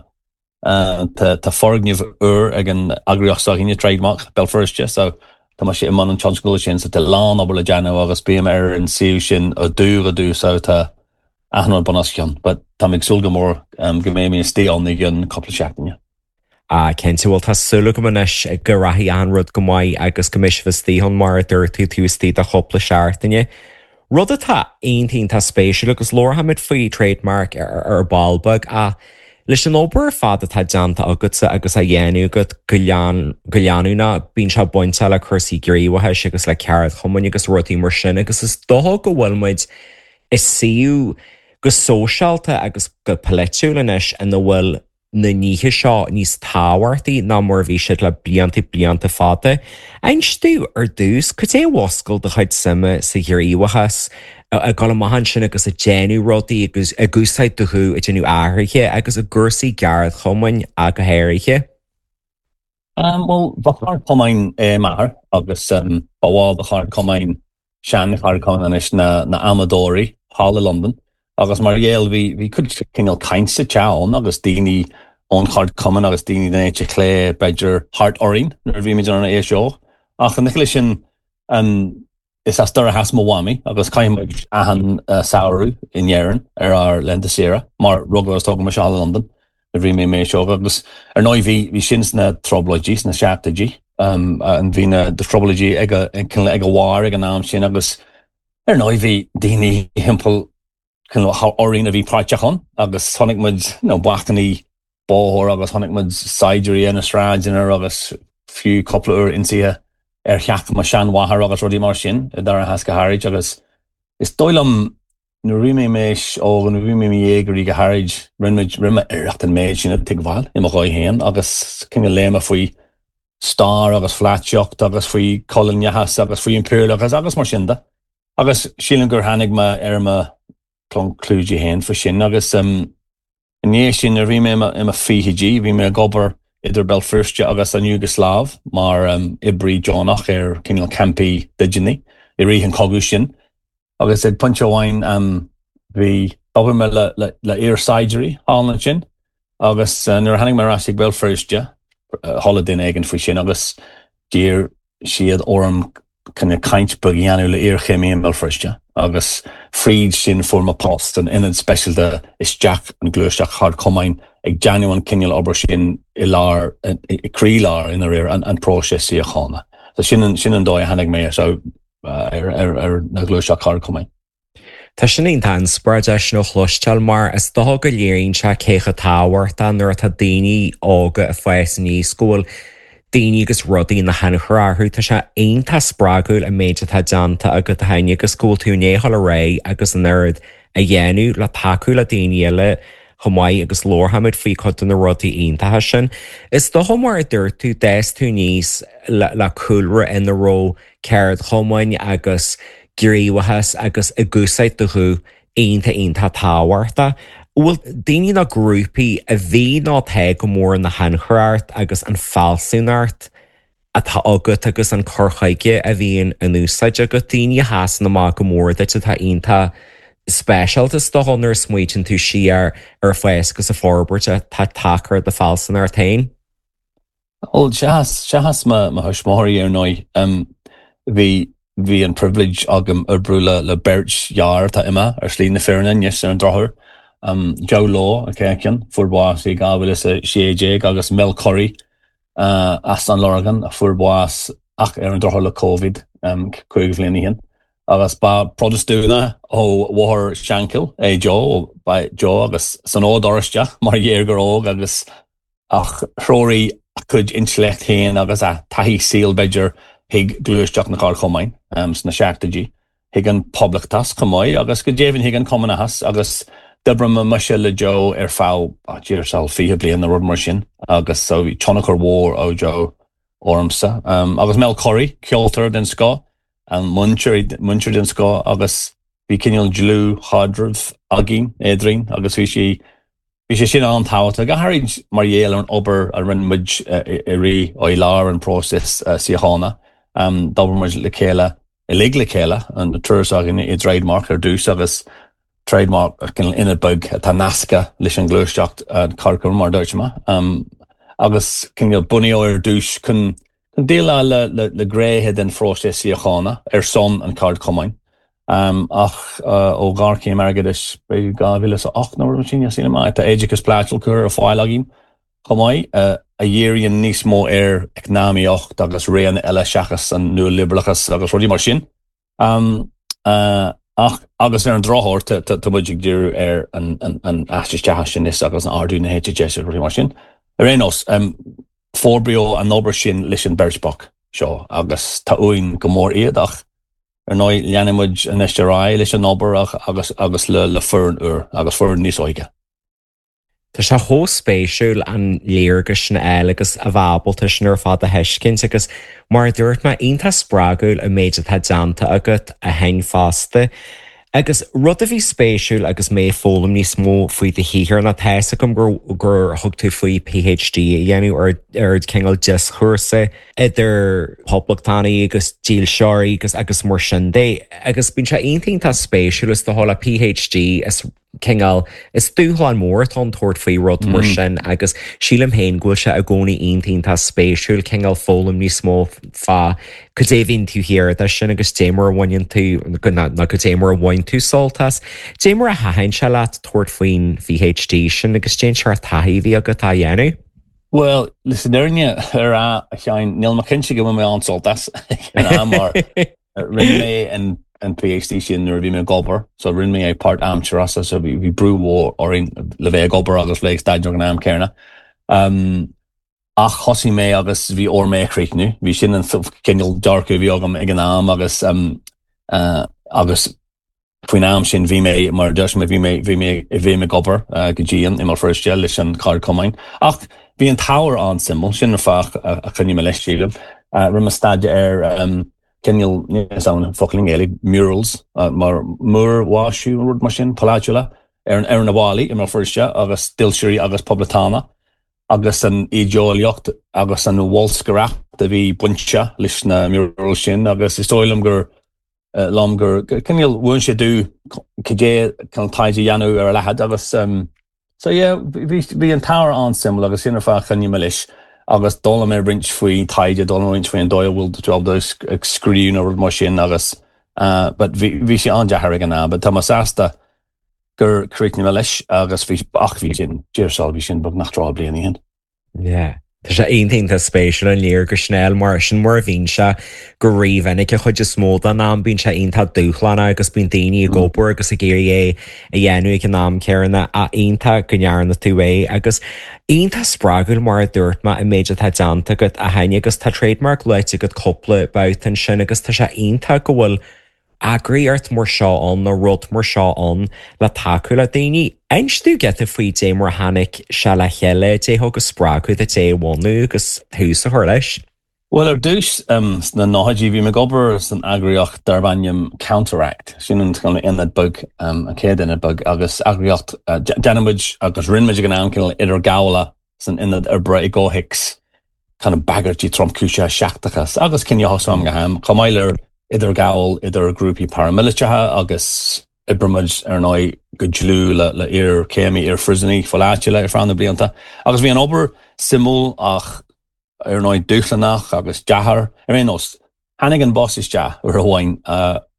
tá foirgneamh úr ag an eagraíocht s'againne Trademark Béal Feirste so tá sé i mbun an tionscadail sin so tá lán obair le déanamh agus bím ar an suíomh sin ó dubh go dubh so tá achan rud bun os cionn, but tá ag súil go mór um, go mbeidh mé istigh ann i gceann cúpla seachtaine. A cinnte bhfuil tá súil agam anois go rachaidh an rud go maith agus go mbeidh sibh istigh ann mar a dúirt tú tú istigh do chúpla seachtaine. Rud atá iontach spéisiúil agus labharfaimid faoi trademark ar, ar ball beag a leis an obair fad atá déanta agatsa agus á dhéanamh agat go go leanúnach bíonn sé bainte le cúrsaí gníomhachais agus le ceardchumainn agus rudaí mar sin agus is dócha go bhfuil muid i suíomh go sóisialta agus go polaitiúil anois ina bhfuil na nithe seo níos tábhachtaí ná mar bhí siad le blianta blianta fada. Inis domh ar dtús cad é a mhúscail do chuid suime sa ghníomhachas ag dul amach ansin agus ag déanamh rudaí agus ag úsáid do ghuth ag déanamh athruithe agus i gcúrsaí ceardchumainn ach go háirithe. Um, well ba cheardchumann é m'athair agus um, ba bhall de cheardchumann sean-cheardchumann anois na, na amadóirí thall i London. agus mar gheall bhí bhí cuid cineál caint sa teach ann agus daoine ón cheardchumann agus daoine den eite chlé b'fhéidir thart orainn nuair a bhí muid an aois óg. Ach an leis sin um, is as Doire Theas mo mhamaí agus chaith muid achan uh, samhradh in Éirinn ar ár laethanta saoire mar rugadh agus tógadh mise i London a bhí mé mé seo agus ar ndóigh bhí bhí sin sna trioblóidí sna seachtóidí um, an bhí na de trioblóidí ag ag ag a bharr ag an am sin agus ar ndóigh bhí daoine timpeall orainn a bhí páirteach ann agus chonaic muid nó bacainní bóthair agus chonaic muid saighdiúirí ar na sráideanna agus fiú cúpla uair ionsaithe ar theach mo sheanmháthar agus rudaí mar sin i Doire Theas go háirid agus is dóigh liom nuair bhí mé méis ó an bhí mé dhéagóirí go háirid rinne rinne mé iarracht an méid sin a thuigbheáil i mo dhóigh féin agus cineál léigh mé faoi stair agus pholaitíocht agus faoi choilíneachas agus faoi impiriúlachas agus mar sin de. Agus sílim gur tháinig mé ar mo conclúidí féin faoi sin agus um, inné sin a bhí mé i mo fichidí, bhí mé ag obair idir Béal Feirste agus an Iúgasláiv mar um, oibrí deonach ar cineál campaí dídeanaí i rith an chogadh sin. Agus ag pointe amháin um, bhí obair mé le, le, le iar-saighdiúirí thall ansin, agus uh, nuair a tháinig mé ar ais ag Béal Feirste uh, chuala duine éigin faoi sin agus d'iarr siad orm chun caint beag a dhéanamh le iarchéimí i mBéal Feirste agus fríd sin fuair mé post an ionad speisialta isteach an ghluaiseacht cheardchumainn ag déanamh an cineál obair sin i lár i gcroílár ina réir an, an próiseas síochána. So sin sin an dóigh a tháinig mé so ar, ar, ar na gluaiseacht cheardchumainn. Tá sin iontach inspioráideach sin a chloisteáil mar is dócha go léiríonn sé cé chomh tábhachtach nuair atá daoine óga ag fás aníos go bhfuil daoine agus rudaí ina thionchar orthu Tá sé iontach spreagúil an méid atá déanta agat féin agus go bhfuil tú in éáil a ré agus an oiread a dhéanamh le tacú le daoine eile chomh maith agus labharfaimid faoi chuid de na rudaí iontacha sin. Is dócha mar a dúirt tú d'fhás tú aníos le, le cúlra ina raibh ceardchumainn agus gníomhachas agus ag úsáid do ghuth iontach iontach tábhachtach. Bhfuil daoine nó grúpaí a bhí nó atá go mór ina thionchar ort agus an fealsúnacht atá agat agus an cur chuige a bhíonn in úsáid agat daoine a sheasann amach go mór duit atá iontach speisialta is dócha nuair a smaoitíonn tú siar ar fás agus an fhorbairt atá tagtha ar do phearsanacht féin. Bhuel seachas seachas mo mo thuismitheoirí ar ndóigh bhí bhí an privilege agam oibriú le le beirt fhear atá imithe ar shlí na fírinne anois ar an drochuair. Joe Lowe an chéad cheann, fuair bás i dhá mhíle is a sé déag agus Mel Curry as an Lorgain a fuair bás ach ar an drochuair le Covid cúig bhliain ó shin. Agus ba Protastúnach ó Bhóthar Shankill é Joe, ba Joe agus san Ord Oráisteach mar dhéagóir óg agus ach threoraigh a chuid intleacht féin agus a taithí saoil b'fhéidir chuig gluaiseacht na Ceardchumainn sna seachtóidí, chuig an Poblachtachas chomh maith agus go deimhin chuig an Cumannachas agus d'oibrigh mise le Joe ar feadh deir seal fiche bliain nó rud mar sin agus so bhí tionchar mhór ó Joe ormsa. Agus Mel Curry, ceoltóir den scoth, múinteoir múinteoir den scoth agus bhí cineál dlúthchaidreamh againn eadrainn agus bhí sé Bhí sé sin an-tábhachtach, go háirid mar gheall ar an obair a rinne muid i rith i lár an próisis síochána. D'obair muid le chéile, uilig le chéile, an triúr s'againne i dTrademark ar dtús agus Trademark cineál ionad beag atá nasctha leis an ghluaiseacht ceardchumainn mar a dúirt mé. Agus cineál bunaíodh ar dtús chun déileáil le le gnéithe den phróiseas síochána ar son an cheardchumainn. Ach ó ghéarchéim airgeadais b'fhéidir dhá mhíle is a ocht nó rud mar sin, sílim, tá oideachas polaitiúil curtha ar fáil againn chomh maith, a dhíríonn níos mó ar eacnamaíocht agus réanna eile seachas an nualiobrálachas agus rudaí mar sin. Ach agus ar an drochuair tá muid ag díriú ar an aistriú isteach sin is agus an ardú na heite deise agus rudaí mar sin. Ar aon nós, forbraíodh an obair sin leis an bheirt bhocht seo agus tá uainn go mór iad ach Ar ndóigh, leanfaidh muid anois ar aghaidh leis an obair agus agus le le foireann úr agus foireann níos óige. Tá sé chomh spéisiúil an léargas sin a fháil agus a bheith ábalta sin ar fad a thuiscint agus mar a dúirt mé, iontach spreagúil an méid atá déanta agat a Sheáin fosta. Agus rud a bhí spéisiúil agus mé ag foghlaim níos mó faoi do shaothar ná tá fhios agam gur gur thug tú faoi PhD a dhéanamh ar ar cineál dioscúrsa idir poblachtánaigh agus dílseoirí agus agus mar sin de. Agus bíonn sé iontach iontach spéisiúil is dócha le PhD is cineál is dúshlán mór atá ann tabhairt faoi rud mar sin agus sílim féin go bhfuil sé i gcónaí iontach iontach spéisiúil cineál foghlaim níos mó fá cad é a bhíonn taobh thiar de sin agus dé mar a bhaineann tú nó cad é mar a bhain tú sult as. Dé mar a thaitin sé leat tabhairt faoin PhD sin agus cén seort taithí a bhí agat á dhéanamh. Bhuel, leis an fhírinne a rá, a Sheáin, níl mé cinnte go bhfuil mé an-sult as ag an am mar rinne mé an an PhD sin nuair a bhí mé ag obair, so rinne mé é páirtaimseartha so bhí bhí brú mhór orainn le bheith ag obair agus bheith ag staidéar ag an am céanna. Um, ach thosaigh mé agus bhí orm é a chríochnú. Bhí sin an cineál dearcadh a bhí agam ag an am agus um, uh, agus faoin am sin bhí mé mar deis mé bhí mé bhí mé bhí mé ag obair uh, go dian i mBéal Feirste leis an Cheardchumann. Ach bhí an t-ábhar an-suimiúil sin an fáth a, a choinnigh mé leis sílim. Uh, rinne mé staidéar ar um, cineál níl an focal i nGaeilge murals uh, mar múrmhaisiú rud mar sin polaitiúla ar ar na ballaí i mBéal Feirste agus dílseoirí agus poblachtánach agus an idéolaíocht agus an bholscaireacht a bhí bainte leis na murals sin agus is dóigh liom gur uh, liom gur cineál mhúin sé domh cad é chun taighde a dhéanamh ar a laghad agus um, so yeah bhí bhí an t-ábhar an-suimiúil agus sin an fáth a choinnigh mé leis agus d'fhoghlaim mé roinnt faoi taighde d'fhoghlaim mé roinnt faoin dóigh a bhfuil tú ábalta ag scríobh nó rud mar sin agus uh, but bhí bhí sé an-deacair ag an am, but tá mé sásta gur chríochnaigh mé leis agus bhí ach bhí sin deir seal bhí sin beagnach trí bliana ó shin. Yeah. Tá sé iontach spéisiúil an léargas sin a fháil mar sin mar a bhíonn sé go rímhinic an chuid is mó den am bíonn sé iontach dúshlánach agus bíonn daoine ag obair agus ag iarraidh é a dhéanamh ag an am céanna ach iontach go ndearna tú é agus iontach spreagúil mar a dúirt mé an méid atá déanta agat a Sheáin agus tá trademark luaite agat cúpla babhta ansin agus tá sé iontach go bhfuil eagraíocht mar seo ann nó rud mar seo ann le tacú le daoine. Inis domh giota faoi dé mar a tháinig sé le chéile, dé thug an spreagadh duit é a bhunú agus tús a chur leis. Well ar dtús um, sna nóchaidí bhí mé ag obair san eagraíocht darb ainm Counteract, sin an ionad beag um, an chéad ionad beag agus eagraíocht uh, déanann muid agus rinne muid ag an am cineál idirghabhála san ionad oibre i gcomhthéacs kind of bagairtí tromchúiseacha seachtracha agus cineál am go ham, chomh maith le idirghabháil idir grúpaí paramiliteacha agus Oibríonn muid ar ndóigh go dlúth le le iarchéimí iarphríosúnaigh pholaitiúla ar feadh na blianta. Agus bhí an obair suimiúil ach ar ndóigh dúshlánach agus deacair ar aon nós. Tháinig an boss isteach uair amháin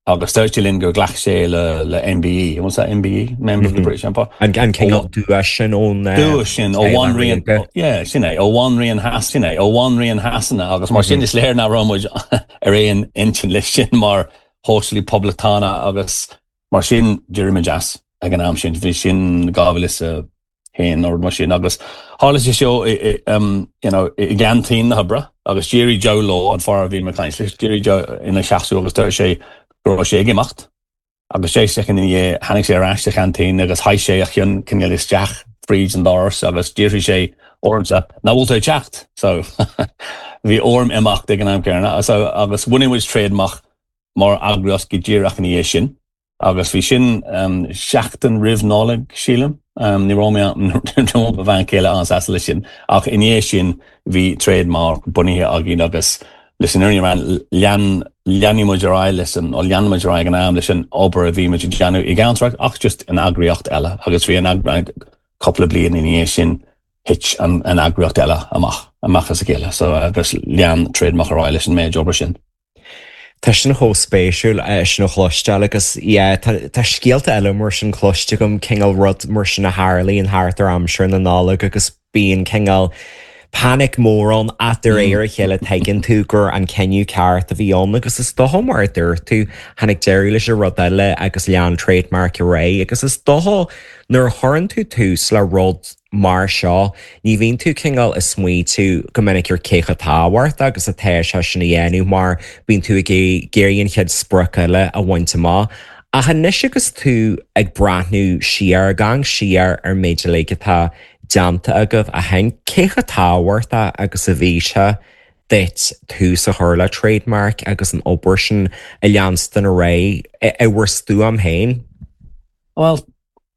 agus dúirt sé linn gur ghlac sé le le MBE. What's that MBE? Member of the British Empire. An an cineál duais sin ón Duais sin ó Bhanríon yeah, sin é ó Bhanríon Shas sin é ó Bhanríon Shasana agus mar sin is léir nach raibh muid ar aon intinn leis sin mar shóisialaí poblachtánach agus mar sin d'éirigh muid as ag an am sin bhí sin dhá mhíle is a haon nó mar sin agus tharla sé seo you know, i gceaintín na hoibre agus d'éirigh Joe Law an fear a bhí mé ag caint leis d'éirigh Joe ina sheasamh agus dúirt sé go raibh sé ag imeacht agus sé soicind ina dhiaidh tháinig sé ar ais sa cheaintín agus sháigh sé a cheann cineál isteach fríd an doras agus d'fhiafraigh sé ormsa an bhfuil tú ag teacht so bhí orm imeacht ag an am céanna so agus bhunaigh muid Trademark mar eagraíocht go díreach ina dhiaidh sin agus bhí sin um, seachtain roimh Nollaig sílim um, ní raibh mé mo bhean chéile an-sásta leis sin ach ina dhiaidh sin bhí Trademark bunaithe againn agus leis an fhírinne lean lean muid ar aghaidh leis an ó lean muid ar aghaidh an am leis an obair a bhí muid ag déanamh i gceantar ach just an eagraíocht eile agus bhí an cúpla bliain ina dhiaidh sin thit an, an eagraíocht eile amach amach as a chéile so agus lean Trademark ar aghaidh leis an méid obair sin. Tá sin chomh spéisiúil sin a chloisteáil agus tá scéalta eile mar sin cloiste agam cineál rud mar sin a tharlaíonn thart ar aimsir na Nollag agus bíonn cineál panic mór ann ach de réir a chéile tuigeann tú gur an cinneadh ceart a bhí ann agus is dócha mar a dúirt tú tháinig deireadh leis an rud eile agus lean Trademark ar aghaidh agus is dócha nuair a chuireann tú tús le rud mar seo ní bhíonn tú cineál ag smaoitiú go minic ar cé chomh tábhachtach agus atá sé sin a dhéanamh mar bíonn tú ag iarraidh an chéad sprioc eile a bhaint amach. Ach anois agus tú ag breathnú siar gan siar ar méid uilig atá déanta agaibh ó shin cé chomh tábhachtach agus a bhí sé duit tús a chur le Trademark agus an obair sin a leanstan ar aghaidh i bhur stuaim féin. Well,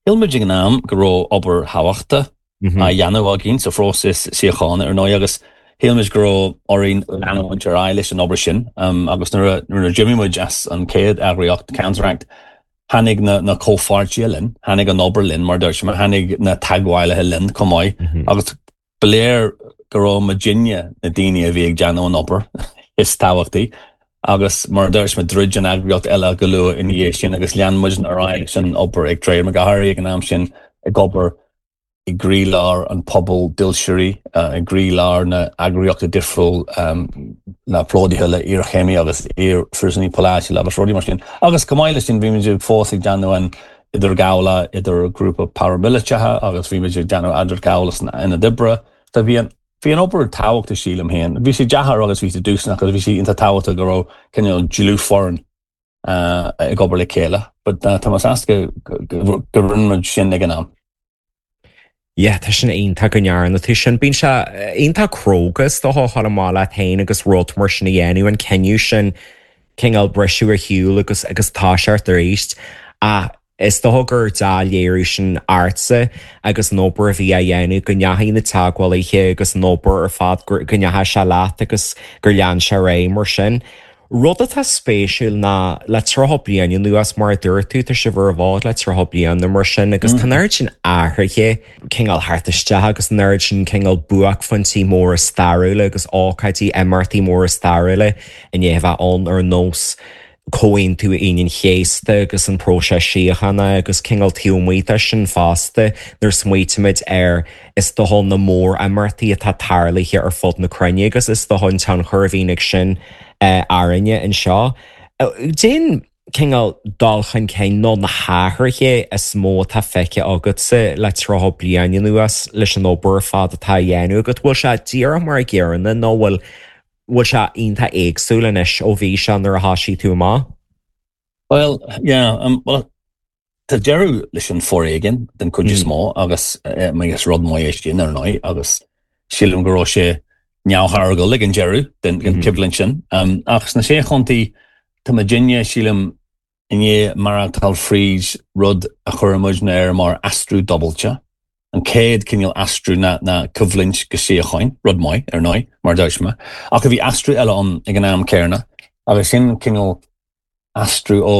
shíl muid ag an am go raibh obair thábhachtach á dhéanamh againn sa phróiseas síochána ar ndóigh agus shíl muid go raibh orainn leanúint ar aghaidh leis an obair sin um, agus nuair a d'imigh muid as an chéad eagraíocht Counteract tháinig na, na comhpháirtithe linn, tháinig an obair linn mar dúirt mé, tháinig na teagmhálaithe linn chomh maith mm -hmm. agus ba léir go raibh muidinne na daoine a bhí ag déanamh an obair is tábhachtaí agus mar dúirt mé druid an eagraíocht eile go luath ina dhiaidh sin agus lean muid ar aghaidh san obair ag Trademark go háirithe ag an am sin ag obair i gcroílár an pobal dílseoirí i gcroílár na eagraíochta difriúil um, na plódaithe le iarchéimí agus iarphríosúnaigh polaitiúla agus rudaí mar sin. Agus go maith leis sin bhí muid fós ag déanamh an idirghabhála idir grúpa paramiliteach agus bhí muid ag déanamh idirghabhála san ionad oibre. Tá bhí an Bhí an obair tábhachtach sílim féin. Bhí sé deacair agus bhí sé dúshlánach agus bhí sé iontach tábhachtach go raibh cineál dlúthfhoireann uh, ag obair le chéile, but uh, tá mé sásta go rinne muid sin ag an am. Yeah, tá sin iontach go ndearna tú sin bíonn sé iontach cróga is dócha a dhul amach leat féin agus rud mar sin a dhéanamh an cinneadh sin cineál briseadh ar shiúl agus agus toiseacht arís ach is dócha gur dea-léiriú sin ortsa agus an obair a bhí á dhéanamh go ndeachaigh na teagmhálaithe agus an obair ar fad go ndeachaigh sé leat agus gur lean sé ar aghaidh mar sin. Rud atá spéisiúil ná le tríocha bliain anuas mar a dúirt tú tá sibh ar an bhfód le tríocha bliain nó mar sin agus tá an oiread sin athruithe cineál thart isteach agus an oiread sin cineál buaicphointí móra stairiúla agus ócáidí imeachtaí móra stairiúla i ndiaidh a bheith ann ar nós Comhaontú Aoine an Chéasta agus an próiseas síochána agus cineál taobh amuigh de sin fosta nuair smaoitímid ar is dócha na mór-imeachtaí atá tarlaithe ar fud na cruinne agus is dócha an tionchar a bhíonn ag sin orainne anseo. Cén cineál dul chun cinn nó na hathruithe is mó atá feicthe agatsa le tríocha bliain anuas leis an obair ar fad atá á dhéanamh agat? Bhfuil sé díreach mar an gcéanna nó bhfuil bhfuil sé iontach éagsúil anois ó bhí sé nuair a thosaigh tú amach? Well, yeah, um, well, tá deireadh leis an foréigean den chuid is mó agus is rud maith é sin ar ndóigh agus sílim go raibh sé neamhtháirgiúil ag an deireadh den den choimhlint sin. Um, ach sna sé chontae tá muidinne sílim i ndiaidh maireachtáil fríd rud a chuir muidne air mar aistriú dúbailte. An chéad cineál aistriú ná ná coimhlint go síocháin, rud maith ar ndóigh, mar dúirt mé, ach a bhí aistriú eile ann ag an am céanna agus sin cineál aistriú ó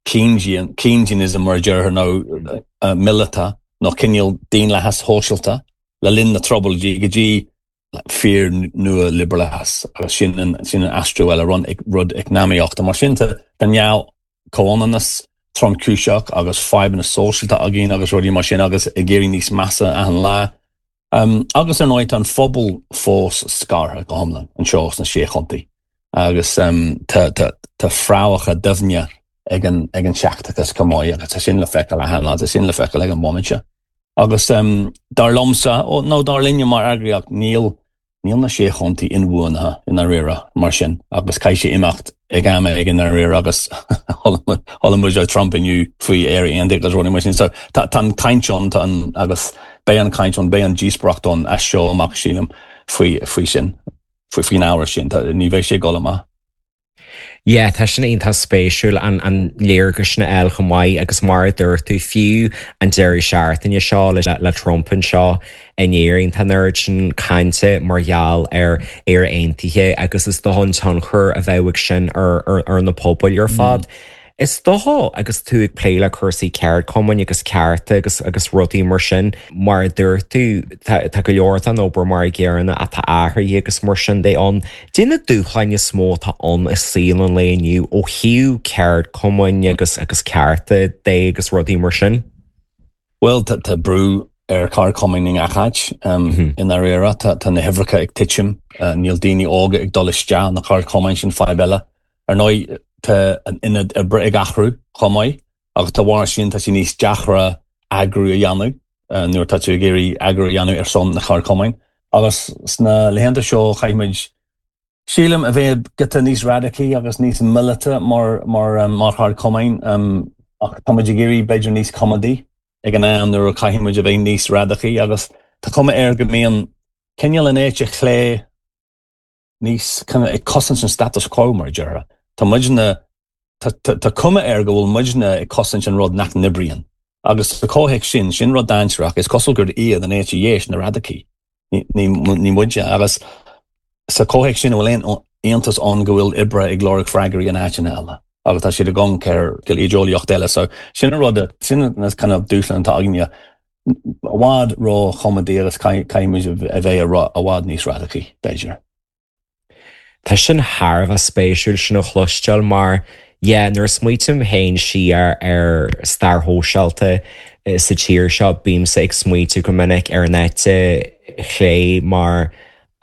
Keynesian, Keynesianism mar a déarfá nó uh, míleata nó cineál daonlathas sóisialta le linn na trioblóidí go dtí fíor nua-liobrálachas agus sin an sin an aistriú eile rud rud eacnamaíochta mar sin tá neamh-chomhionannas tromchúiseach agus fadhbanna sóisialta againn agus rudaí mar sin agus ag éirí níos measa achan lá. Um, agus ar ndóigh an phobal fós scartha go hiomlán anseo sna sé chontae. agus um, tá, tá, tá fréamhacha doimhne ag an, ag an seicteachas chomh maith agus tá sin le feiceáil achan lá, tá sin le feiceáil ag an bhomaite. Agus um, dar liomsa ó nó dar linne mar eagraíocht níl níl na sé chontae inbhuanaithe i ndáiríre mar sin agus caithfidh sé imeacht ag am ag an réir agus chuala Trump inniu faoi Éire Aontaithe agus rudaí mar sin so tá an caint ann an agus beidh an caint ann beidh an díospóireacht ann as seo amach sílim faoi faoi sin faoi faoin ábhar sin ní bheidh sé go maith. Yeah, tá sin iontach spéisiúil an an léargas sin eil chomh maith agus mar a dúirt tú fiú an deireadh seachtaine seo le le Trump anseo in Éirinn tá an oiread sin cainte mar gheall ar Éire Aontaithe agus is dócha an tionchar a bheidh ag sin ar, ar, ar na pobail ar fad. Mm. Is dócha agus tú ag plé le cúrsaí ceardchumainn agus cearta agus agus rudaí mar sin mar a dúirt tú tá go leor an obair mar ghéarna atá athraithe agus mar sin de ann. Cad é na dúshláin is mó atá ann i saol an lae inniu ó thaobh ceardchumainn agus agus cearta de agus rudaí mar sin? Well tá brú ar cheardchumainn i ngach áit um, mm -hmm. i ndáiríre tá na huimhreacha ag titim uh, níl daoine óga ag dul isteach na ceardchumainn sin fadhb eile. Ar ndóigh tá an ionad oibre ag athrú chomh maith agus dá bharr sin tá sé níos deacra eagrú a dhéanamh uh, nuair tá tú ag iarraidh eagrú a dhéanamh ar son na ceardchumainn. Agus sna laethanta seo caithfimid sílim a bheith giota níos radacaí agus níos míleata mar mar um, mar cheardchumainn um, ach táimid ag iarraidh b'fhéidir níos coimeádaí ag an am nuair a caithfimid a bheith níos radacaí agus tá cuma air go mbíonn cineál an eite chlé níos ag cosaint an status quo mar déarfá. Tá muidne tá cuma air go bhfuil muidne ag cosaint an rud nach n-oibríonn. Agus sa chomhthéacs sin sin rud dainséarach is cosúil gur iad an eite dheis na radacaí. Ní muide agus sa chomhthéacs sin bhfuil aon iontas ann go bhfuil oibrithe ag lorg freagraí in áiteanna eile. agus tá siad ag amharc ar go idéolaíocht eile, so sin an rud sin na kind of dúshláin atá againne i bhfad ró-choimeádaí agus caithfimid a bheith i bhfad níos radacaí b'fhéidir. Tá sin thar a bheith spéisiúil sin a chloisteáil mar yeah, nuair a smaoiním féin siar ar stair shóisialta sa tír seo bímse ag smaoitiú go minic ar an eite chlé mar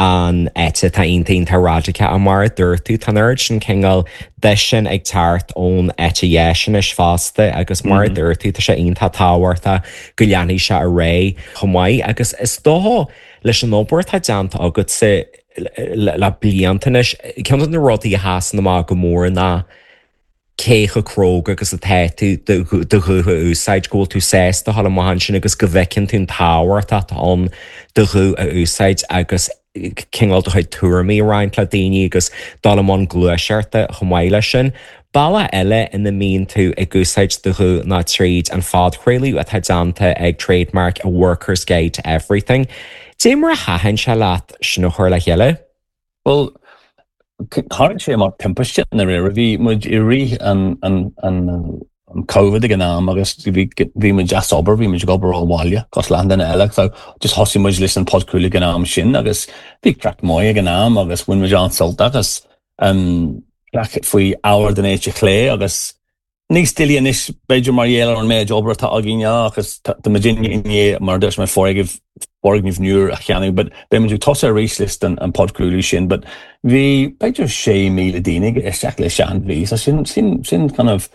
an eite tá iontach radacach mar a dúirt tú tá an sin cineál de sin ag teacht ón eite dheis anois fosta agus mar a mm -hmm. dúirt tú tá sé iontach tábhachtach go leanfaidh sé ar aghaidh chomh maith agus is dócha leis an obair atá déanta agatsa le blianta anois ceann de na rudaí a sheasann amach go mór ná cé chomh cróga agus atá tú do ghuth a úsáid go bhfuil tú sásta dul amach ansin agus go bhfeiceann tú an tábhacht atá ann do ghuth a úsáid agus cineál do chuid tuairimí a roinnt le daoine agus dul i mbun gluaiseachta chomh maith leis sin. Bealach eile ina mbíonn tú ag úsáid do ghuth ná tríd an phodchraoladh atá déanta ag Trademark a Worker's Guide to Everything. Dé mar a thaitin sé leat sin a chur le chéile? Well, tharla sé mar timpiste i ndáiríre bhí muid i rith an an an an COVID ag an am agus bhí muid as obair bhí muid ag obair ó bhaile cosúil le achan duine eile so just thosaigh muid leis an podchraoladh ag an am sin agus bhí craic maith ag an am agus bhain muid an-sult agus um, faoi ábhar den eite chlé agus níos doiligh anois b'fhéidir mar gheall ar an méid obair atá againn agus tá muidinne inné mar dúirt mé foirgneamh foirgneamh nua a cheannach, but beimid ag tosú arís leis an an podchraoladh sin, but bhí b'fhéidir sé míle daoine isteach leis an bhí, so sin sin sin kind of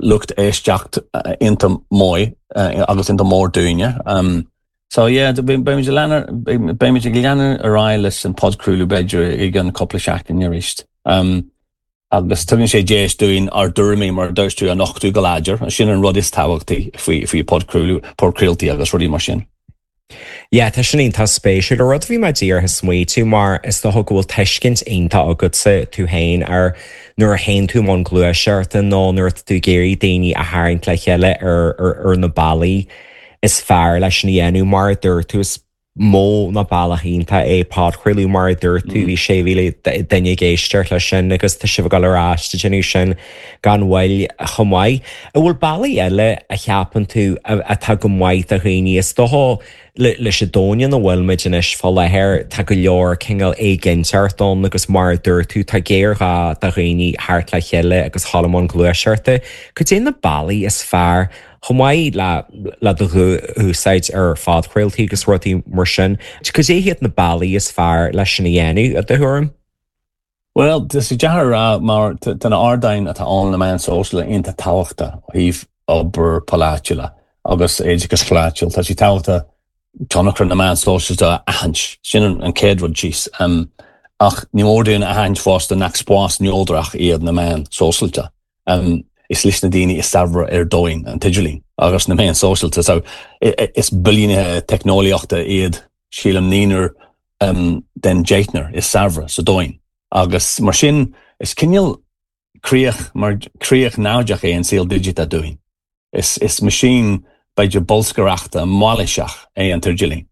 lucht éisteacht iontach maith agus iontach mór dúinne. Um, so yeah, beimid beimid ag leanúint ar aghaidh leis an podchraoladh b'fhéidir i gceann cúpla seachtain arís. Um, agus tugann sé deis dúinn ár dtuairimí mar a dúirt tú a nochtadh go láidir, sin an rud is tábhachtaí faoi faoi podchraoladh podchraoltaí agus rudaí mar sin. Yeah, tá sin iontach spéisiúil a rud bhí mé díreach ag smaoitiú mar is dócha go bhfuil tuiscint iontach agatsa tú féin ar nuair a théann tú i mbun gluaiseachta nó nuair atá tú ag iarraidh daoine a tharraingt le chéile ar, ar, ar na bealaí is fearr leis sin a dhéanamh mar a dúirt tú is Modh nó bealach iontach é podchraoladh mar a dúirt tú bhí sé mhíle duine ag éisteacht leis sin agus tá sibh ag dul ar ais ag déanamh sin gan mhoill chomh maith. An bhfuil bealaí eile a cheapann tú atá go maith do dhaoine is dócha leis an domhan ina bhfuil muid anois fá láthair tá go leor cineál éiginnteacht ann agus mar a dúirt tú tá géarghá do dhaoine theacht le chéile agus dhul i mbun gluaiseachta. Cad é na bealaí is fearr chomh maith le le do úsáid ar phodchraoltaí agus rudaí mar sin. Cad é hiad na bealaí is fearr leis sin a dhéanamh i do thuairim? Well, tá sé deacair a rá mar tá na ardáin atá ann na meáin sóisialta iontach tábhachtach ó thaobh obair pholaitiúil agus oideachas polaitiúil. Tá sé tábhachtach tionchar na meán sóisialta a aithint sin an chéad rud síos. Um, ach ní mór dúinn a aithint fosta nach spás neodrach iad na meáin sóisialta. Um, is leis na daoine is saibhre ar domhan an t-idirlíon agus na meáin sóisialta so is billiúnaithe teicneolaíochta iad sílim naonúr um, den deichniúr is saibhre sa domhan. Agus mar sin is cineál críoch mar críoch naimhdeach é an saol digiteach dúinn. Is, is meaisín b'fhéidir bolscaireachta mailíseach é an t-idirlíon.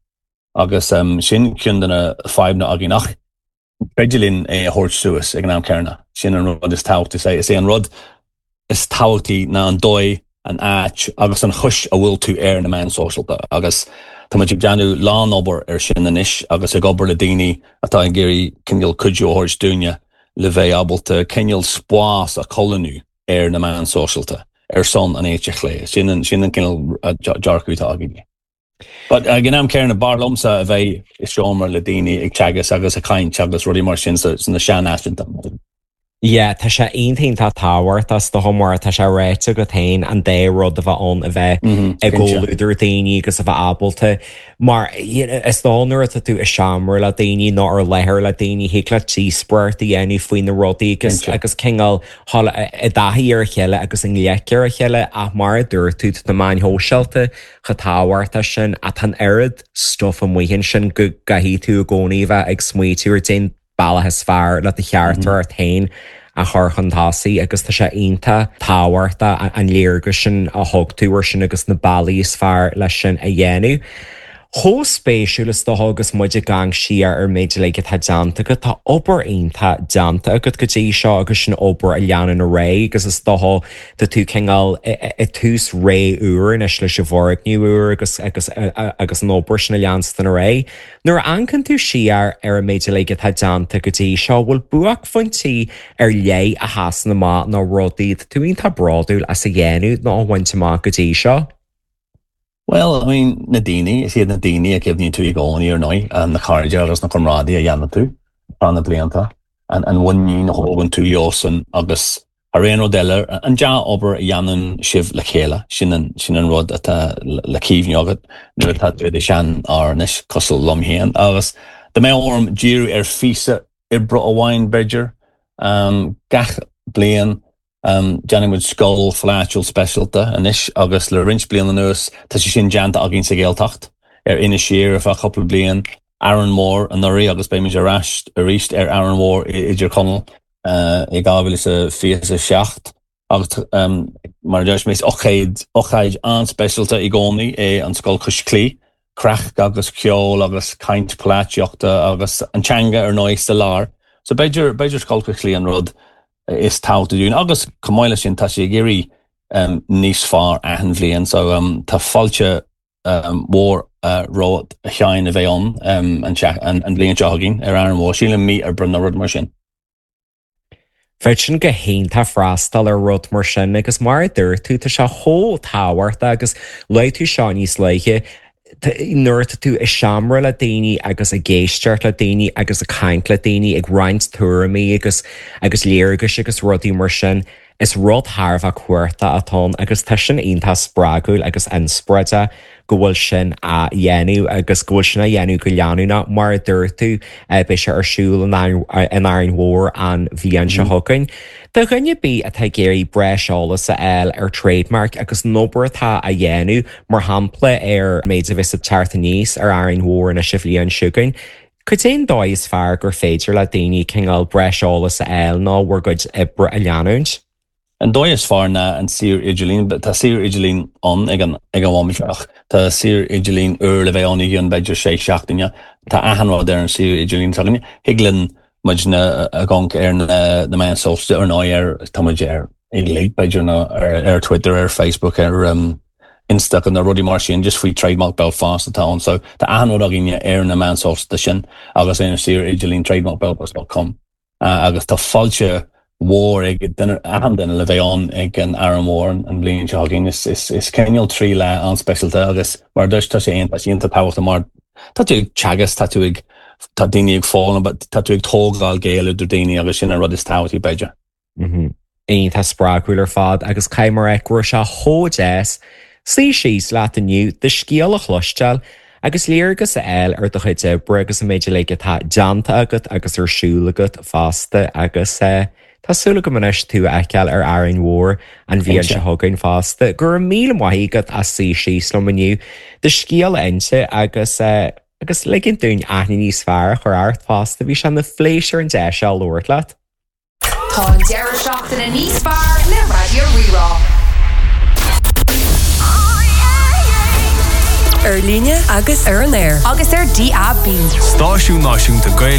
Agus um, sin ceann de na fadhbanna againn ach féidir linn é a thabhairt suas ag an am céanna. Sin an rud is tábhachtaí is é is é an rud is tábhachtaí ná an dóigh an áit agus an chúis a bhfuil tú ar na meáin sóisialta agus Tá muid ag déanamh lánobair ar sin anois agus ag obair le daoine atá ag iarraidh cineál cuidiú a thabhairt dúinne le bheith ábalta cineál spás a cholúnú ar na meáin sóisialta ar son an éite chlé sin an sin an cineál dearcadh atá againn. But ag an am céanna b'fhearr liomsa a bheith i seomra le daoine ag teagasc agus ag caint agus rudaí mar sin sna sean-áiteanna. Yeah, tá sé iontach tábhachtach is dócha mar tá sé ráite agat féin an dá rud a bheith ann a bheith Mhm, i cinnte. gcomhluadar daoine agus a bheith ábalta mar is dóigh nuair atá tú i seomra le daoine nó ar láthair le daoine thig leat díospóireacht a dhéanamh faoi na rudaí agus Cinnte. agus cineál dhul i dtaithí ar a chéile agus i ngleic ar a chéile ach mar a dúirt tú tá na meáin shóisialta chomh tábhachtach sin ach tá an oiread stuff amuigh ansin go gcaithfidh tú i gcónaí bheith ag smaoitiú ar cén bealach is fearr le do theachtaireacht féin a chur chun tosaigh agus tá sé iontach tábhachtach an léargas sin a thug tú ar sin agus na bealaí is fearr leis sin a dhéanamh. Chomh spéisiúil is dócha agus muid ag amharc siar ar méid uilig atá déanta agat tá obair iontach déanta agat go dtí seo agus sin obair a leanann ar aghaidh agus is dócha tá tú cineál i tús ré úr anois leis an bhfoirgneamh úr agus agus agus an obair sin a leanstan ar aghaidh. Nuair a amharcann tú siar ar an méid uilig atá déanta go dtí seo bhfuil buaicphointí ar leith a sheasann amach nó rudaí tú iontach bródúil as a dhéanamh nó a bhaint amach go dtí seo. Well, I mean, na daoine is iad na daoine a chuimhníonn tú i gcónaí ar ndóigh na cairde agus na comrádaithe a dhéanann tú thar na blianta an an mhuinín a thógann tú leosan agus thar aon rud eile an dea-obair a dhéanann sibh le chéile sin an sin an rud atá le cuimhneamh agat nuair atá tú i do sheanfhear anois cosúil liom féin agus dá mbeadh orm díriú ar phíosa oibre amháin b'fhéidir um, gach bliain Um, Déanann muid scoil pholaitiúil speisialta anois agus le roinnt bliain anuas tá sé sin déanta againn sa Ghaeltacht ar Inis Oírr ar feadh cúpla bliain Árainn Mhór anuraidh agus beimid ar ais arís ar Árainn Mhór i dTír Chonaill uh, i dhá mhíle is fiche a seacht agus um, mar deir mé ócáid ócáid an-speisialta i gcónaí é an scoil cois claí, craic agus ceol agus caint polaitíochta agus an teanga ar ndóigh sa lár. So b'fhéidir b'fhéidir scoil cois claí an rud is tábhachtaí dúinn agus chomh maith leis sin tá sé ag éirí um, níos fearr achan bhliain so um, tá fáilte um, mhór uh, romhat a Sheáin a bheith ann um, an, an, an bhliain seo chugainn ar Árainn Mhór sílim mí Aibreán nó rud mar sin. Bheadh sin go hiontach freastal ar rud mar sin agus mar a dúirt tú tá sé chomh tábhachtach agus luaigh tú seo níos luaithe nuair atá tú i seomra le daoine agus ag éisteacht le daoine agus ag caint le daoine ag roinnt tuairimí agus agus léargais agus rudaí mar sin, is rud thar a bheith cumhachtach atá ann agus tá sin iontach spreagúil agus inspioráideach go bhfuil sin á dhéanamh agus go bhfuil sin á dhéanamh go leanúnach mar a dúirt tú beidh sé ar siúl in Árainn Mhór an bhliain seo chugainn. Do dhuine ar bith atá ag iarraidh breis eolas a fháil ar Trademark agus an obair atá á dhéanamh mar shampla ar méid a bheas ag teacht aníos ar Árainn Mhór anois an bhliain seo chugainn. Cad é an dóigh is fearr gur féidir le daoine cineál breis eolas a fháil nó bhur gcuid oibre a leanúint? An dóigh is fearr ná an suíomh idirlín, but tá suíomh idirlín ann ag an ag an bhomaite ach tá suíomh idirlín úr le bheith ann i gceann b'fhéidir sé seachtaine. Tá achan rud ar an suíomh idirlín s'againne. Thig linn muidne a ghabháil ar na na meáin sóisialta ar ndóigh ar tá muid ar uilig b'fhéidir nó ar ar Twitter, ar Facebook, ar um, Insta na rudaí mar sin just faoi Trademark Belfast atá ann so tá achan rud againne ar na meáin sóisialta sin agus ar an suíomh idirlín trademarkbelfast.com uh, agus tá fáilte mhór ag duine achan duine le bheith ann ag an Árainn Mhór an bhliain seo chugainn is is is cineál trí lá an-speisialta agus mar dúirt tá sé tá sé iontach tábhachtach mar tá tú ag teagasc tá tú ag tá daoine ag foghlaim but tá tú ag tógáil gaol idir daoine agus sin an rud is tábhachtaí b'fhéidir. Mm Iontach spreagúil ar fad agus caithfidh mé a rá go raibh sé chomh deas suí síos leat inniu do scéal a chloisteáil agus léargas a fháil ar do chuid oibre agus an méid uilig atá déanta agat agus ar siúl agat fosta agus eh, Tá súil agam anois tú a fheiceáil ar Árainn Mhór an bhliain seo chugainn fosta, go raibh míle maith agat as suí síos liom inniu do scéal a inse agus eh, agus ligint dúinn aithne níos fearr a chur ort fosta bhí sé ina phléisiúr an deis seo labhairt leat. Tá an deireadh seachtaine níos fearr le Raidió Rí-Rá. Ar líne agus ar an aer. Agus ar DAB. Stáisiún Náisiúnta Gaeilge